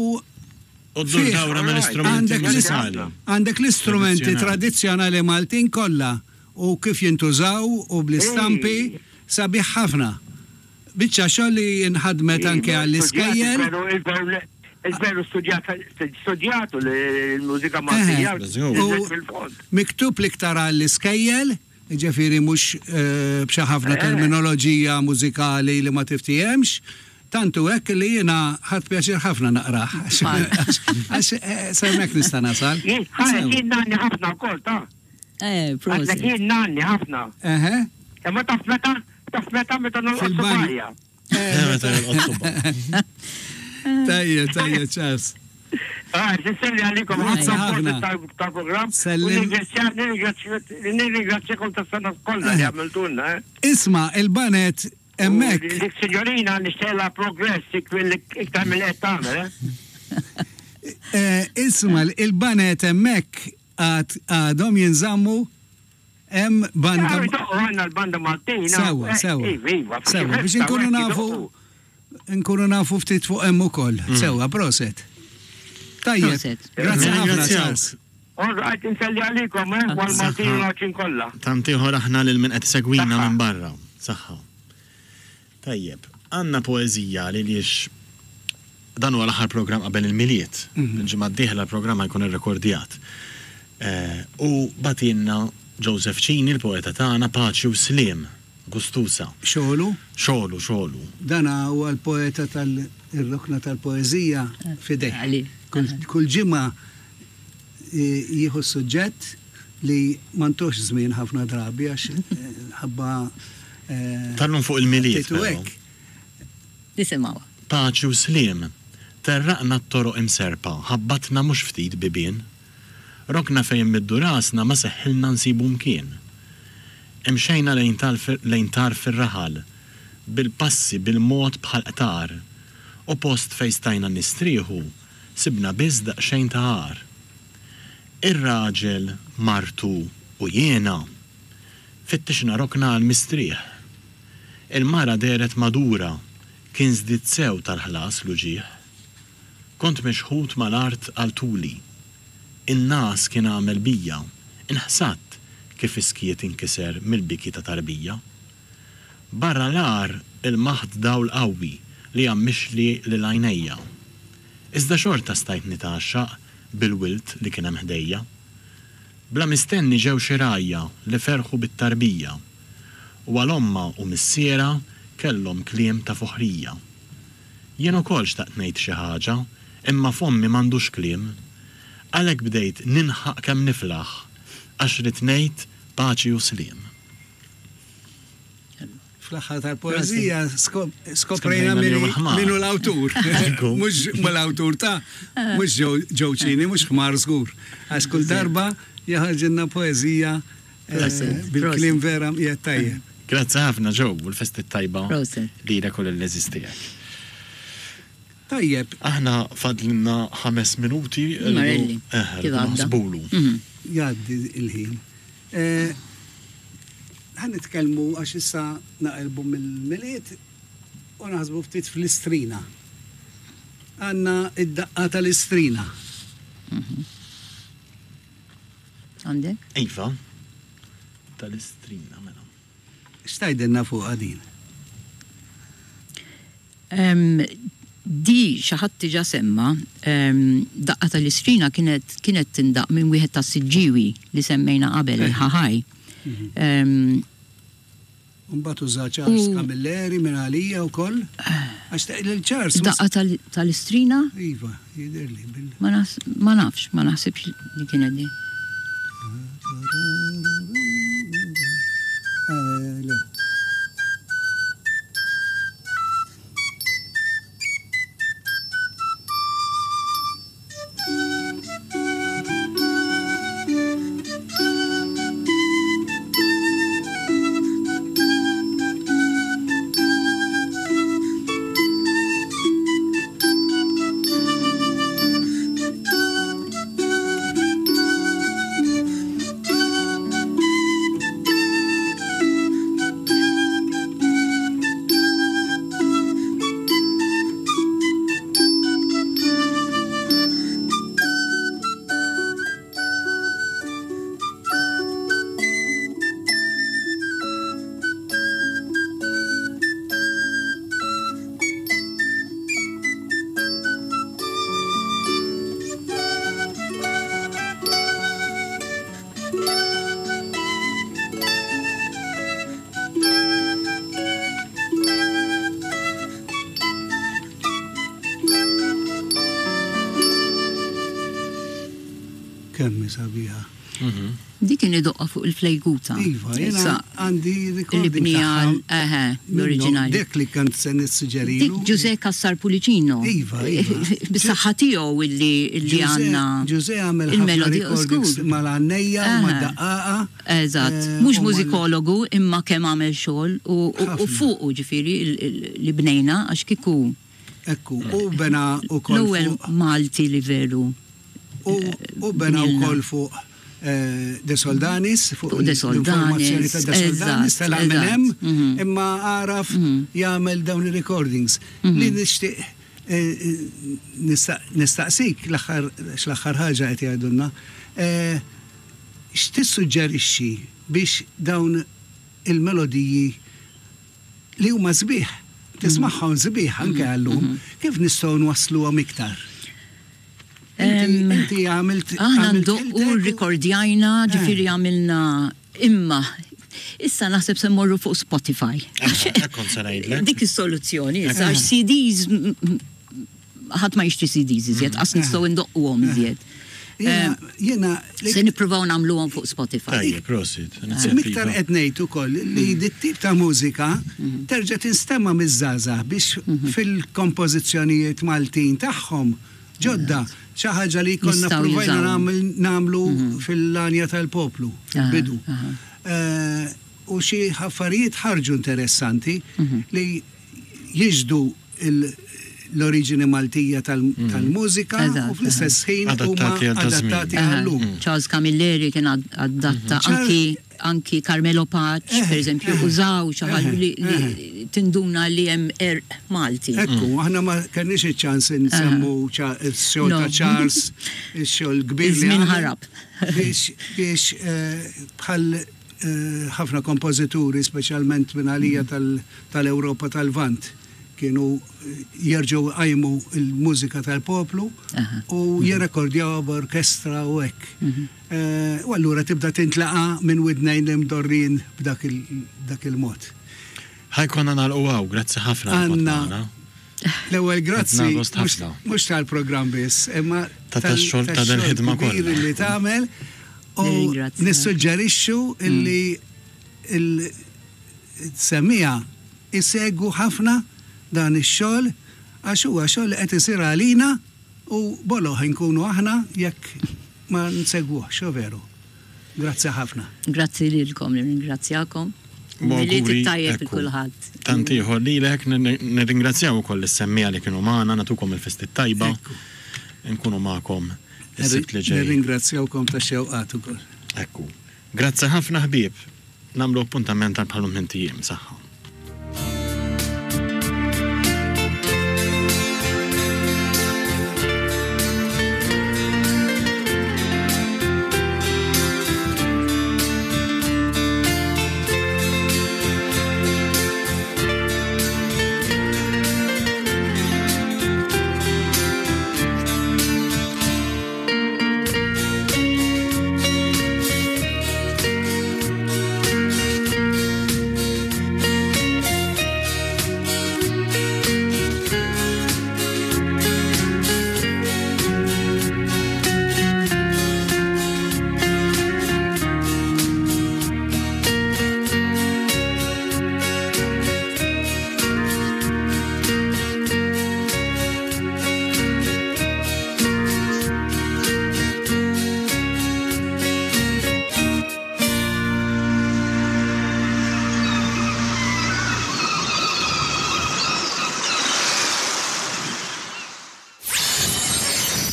U ddur dawra mill-istrumenti mużikali. Għandek l-istrumenti tradizzjonali Maltin kollha u kif jintużaw u bl-istampi sabiħ ħafna. Biċċa xogħol li nħadmet anke għall-iskejjel. Il-veru studjatu l-mużika Maltija. Miktub l-iktar għall-iskejjel, jiġifieri mhux b'xi ħafna terminoloġija mużikali li ma tiftihemx. Tant hu hekk li jiena ħadt pjaċir ħafna naqrah. Għax sa hemmhekk nista' nasal. Jien nanni ħafna wkoll ta'. Eh, proset. Jien nanni ħafna. Eħe. Imma taf meta, taf meta meta nolqot subgħajja. Eh, meta nolqot subgħajja. Tajja, tajja, ċas. Ah, Nselli għalikom ħafna tal-programm. Nirringrazzjakom tas-sena kollha li għamiltulna. Eh. Isma' il-banet hemmhekk. Dik signorina nixtieqla progress iktar mill qed tagħmel. Eh. Eh, isma' il-banet hemmhekk għadhom jinżammu hemm banda. Għandna l-banda Maltina. Sewa, sewa. Iva, iva, Sewa, biex inkunu nafu nkunu nafu ftit fuq hemm ukoll. Sewa, proset. Tajjeb. Grazzi ħafna, Charles. All right, inselli għalikom, eh, għal-Maltin u l-Għawdxin kollha. Tant ieħor aħna lil min qed isegwina minn barra. Saħħa. Tajjeb, għandna poeżija li liex dan huwa l-aħħar programm qabel il-Milied. Il-ġimgħa d-dieħla l-programm ħa jkun irrekordjat. U bagħtilna Joseph Cini, il-poeta tagħna, Paċi u Sliem, Gustusa. Xogħlu? Xogħlu, xogħlu. Dan huwa l-poeta tal-rokna tal-poeżija f'idejh. Kull ġimgħa jieħu s-suġġett li ma ntuhx żmien ħafna drabi għax ħabba Tal-lum fuq il-Milied però. Nisimgħuha. Paċi u sliem. Terraqna t-toroq imserrpa, ħabbatna mhux ftit bibien. Rokna fejn immiddu rasna ma seħħilna nsibu mkien. Imxejna lejn lejn tarf ir-raħal, bil-passi bil-mod bħal qtar, u post fejn stajna nistrieħu sibna biss daqsxejn ta' għar. Ir-raġel, martu u jiena fittixna rokna għall-mistrieħ. Il-mara dehret madura, kien żdied sew tal-ħlas l-uġigħ. Kont mixħut mal-art għal tuli. In-ngħas kien għamel bija, inħsadt kif is-skiet inkiser mill-biki ta' tarbija. Barra l-għar ilmaħt dawl qawwi li għammixli lil għajnejja. Iżda xorta stajt nitgħaxxaq bil-wild li kien hemm ħdejja. Bla mistenni ġew xi rgħajja li ferħu bit-tarbija u għal ommha u missierha kellhom kliem ta' foħrija. Jien ukoll xtaqt ngħid xi ħaġa, imma fommi m'għandux kliem. Għalhekk bdejt ninħaq kemm niflaħ, għax ridt ngħid paċi u sliem. Fl-aħħar tal-poeżija skoprejna min hu l-awtur. Mhux l-awtur ta' mhux Joe Cini, mhux ħmar żgur. Għax kull darba jaħarġilna poeżija bil-kliem vera mqiegħed tajjeb. Grazzi ħafna Joe u l-festi t-tajba lilek u lill-għeżież tiegħek. Tajjeb. Aħna fadlilna ħames minuti. Marelli. Kif naħsbulu. Jgħaddi l-ħin. Ħa nitkellmu għax issa naqilbu mill-Milied u naħsbu ftit fl-Istrina. Għandna id-daqqa tal-Istrina. Għandek? Iva, tal-Istrina mela. X'tgħidilna fuqha din? Di xi ħadd diġà semma, daqqa tal-Istrina kienet kienet tindaqq minn wieħed tas-Siġġiewi li semmejna qabel, il-Ħaħaj. U mbagħad uża Charles Camilleri minn għalija wkoll. Għax lil Charles. Daqqa tal-Istrina? Iva, jidhirli bil. Ma nafx, ma naħsibx li kienet di. Le. Kemm hi sabiħa. Dik kien idoqqha fuq il-flejguta. Iva, jiena għandi recording tagħha. Eħe, l-oriġinali. Dik li kont se nissuġġerilu. Dik Ġużè Cassar Pullicino. Iva, iva. Bis-saħħa tiegħu illi għandna. Ġużè għamel ħafna recordings mal-għannejja u mad-daqqaqa. Eżatt. Mhux mużikologu imma kemm għamel xogħol u fuqu ġifieri li bnejna għax kieku. Ekku, u bena wkoll. L-ewwel Malti li veru. U bena wkoll fuq De Soldanis, fuq l-informazzjoni ta' De Soldanis, tela' minn hemm, imma għaraf jagħmel dawn ir-recordings. Li nixtieq nistaqsik l-aħħar x'l-aħħar ħaġa qed jgħidulna, x'tissuġġerixxi biex dawn il-melodiji li huma sbieħ, tismagħhom sbieħ anke għal-lum, kif nistgħu nwassluhom iktar? Inti għamilt. Aħna ndoqqu rrikordjajna, ġifieri għamilna imma issa naħseb se mmorru fuq Spotify. Dik is-soluzzjoni, issa għax CDs ħadd ma jixtri CDs iżjed, qas nistgħu ndoqquhom iżjed. Jiena se nippruvaw nagħmluhom fuq Spotify. Tajjeb, prosit. Miktar qed ngħid ukoll li dit-tip ta' mużika terġa' tinstema' miż-żgħażagħ biex fil-kompożizzjonijiet Maltin tagħhom ġodda, xi ħaġa li konna ppruvajna nagħmlu fil-Għanja tal-Poplu fil-bidu. U xi affarijiet ħarġu interessanti li jixhdu l-oriġini Maltija tal-mużika u fl-istess ħin huma adattati għal-lum. Charles Camilleri kien adatta anki anki Carmelo Pace, per eżempju, użaw xi ħaġa li tinduna li hemm għerq Malti. Ekku, aħna ma kellniex iċ-ċans insemmu x-xogħol ta' Charles, ix-xogħol kbir li Iż-żmien ħarab. Biex bħal ħafna kompożituri, speċjalment minn għalija tal-Ewropa tal-Lvant, kienu jerġgħu jqajmu l-mużika tal-poplu u jirrekordjawha b'orkestra u hekk. U allura tibda tintlaqa' minn widnejn l-imdorrijin b'dak il-mod. Ħa jkollna nagħlqu hawn, grazzi ħafna li kont magħna. L-ewwel grazzi mhux tal-programm biss, imma tax-xogħol ta' dil-ħidma kollha li tagħmel u nissuġġerixxu illi l-semmiegħa isegwu ħafna dan ix-xogħol għax huwa xogħol li qed isir għalina u boloh inkunu aħna jekk ma nsegwuhx, hu veru. Grazzi ħafna. Grazzi lilkom, nirringrazzjakom. Milied it-tajjeb lil kulħadd. Tant ieħor lilek, nirringrazzjaw ukoll lis-semmiegħa li kienu magħna, nagħtukom il-festi t-tajba. Nkunu magħkom is-Sibt li ġej. Nirringrazzjawkom tax-xewqat ukoll. Ekku. Grazzi ħafna ħbieb. Nagħmlu appuntament għal bħalhom ħin ijiem. Saħħa.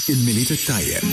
Il-Milied it-Tajjeb.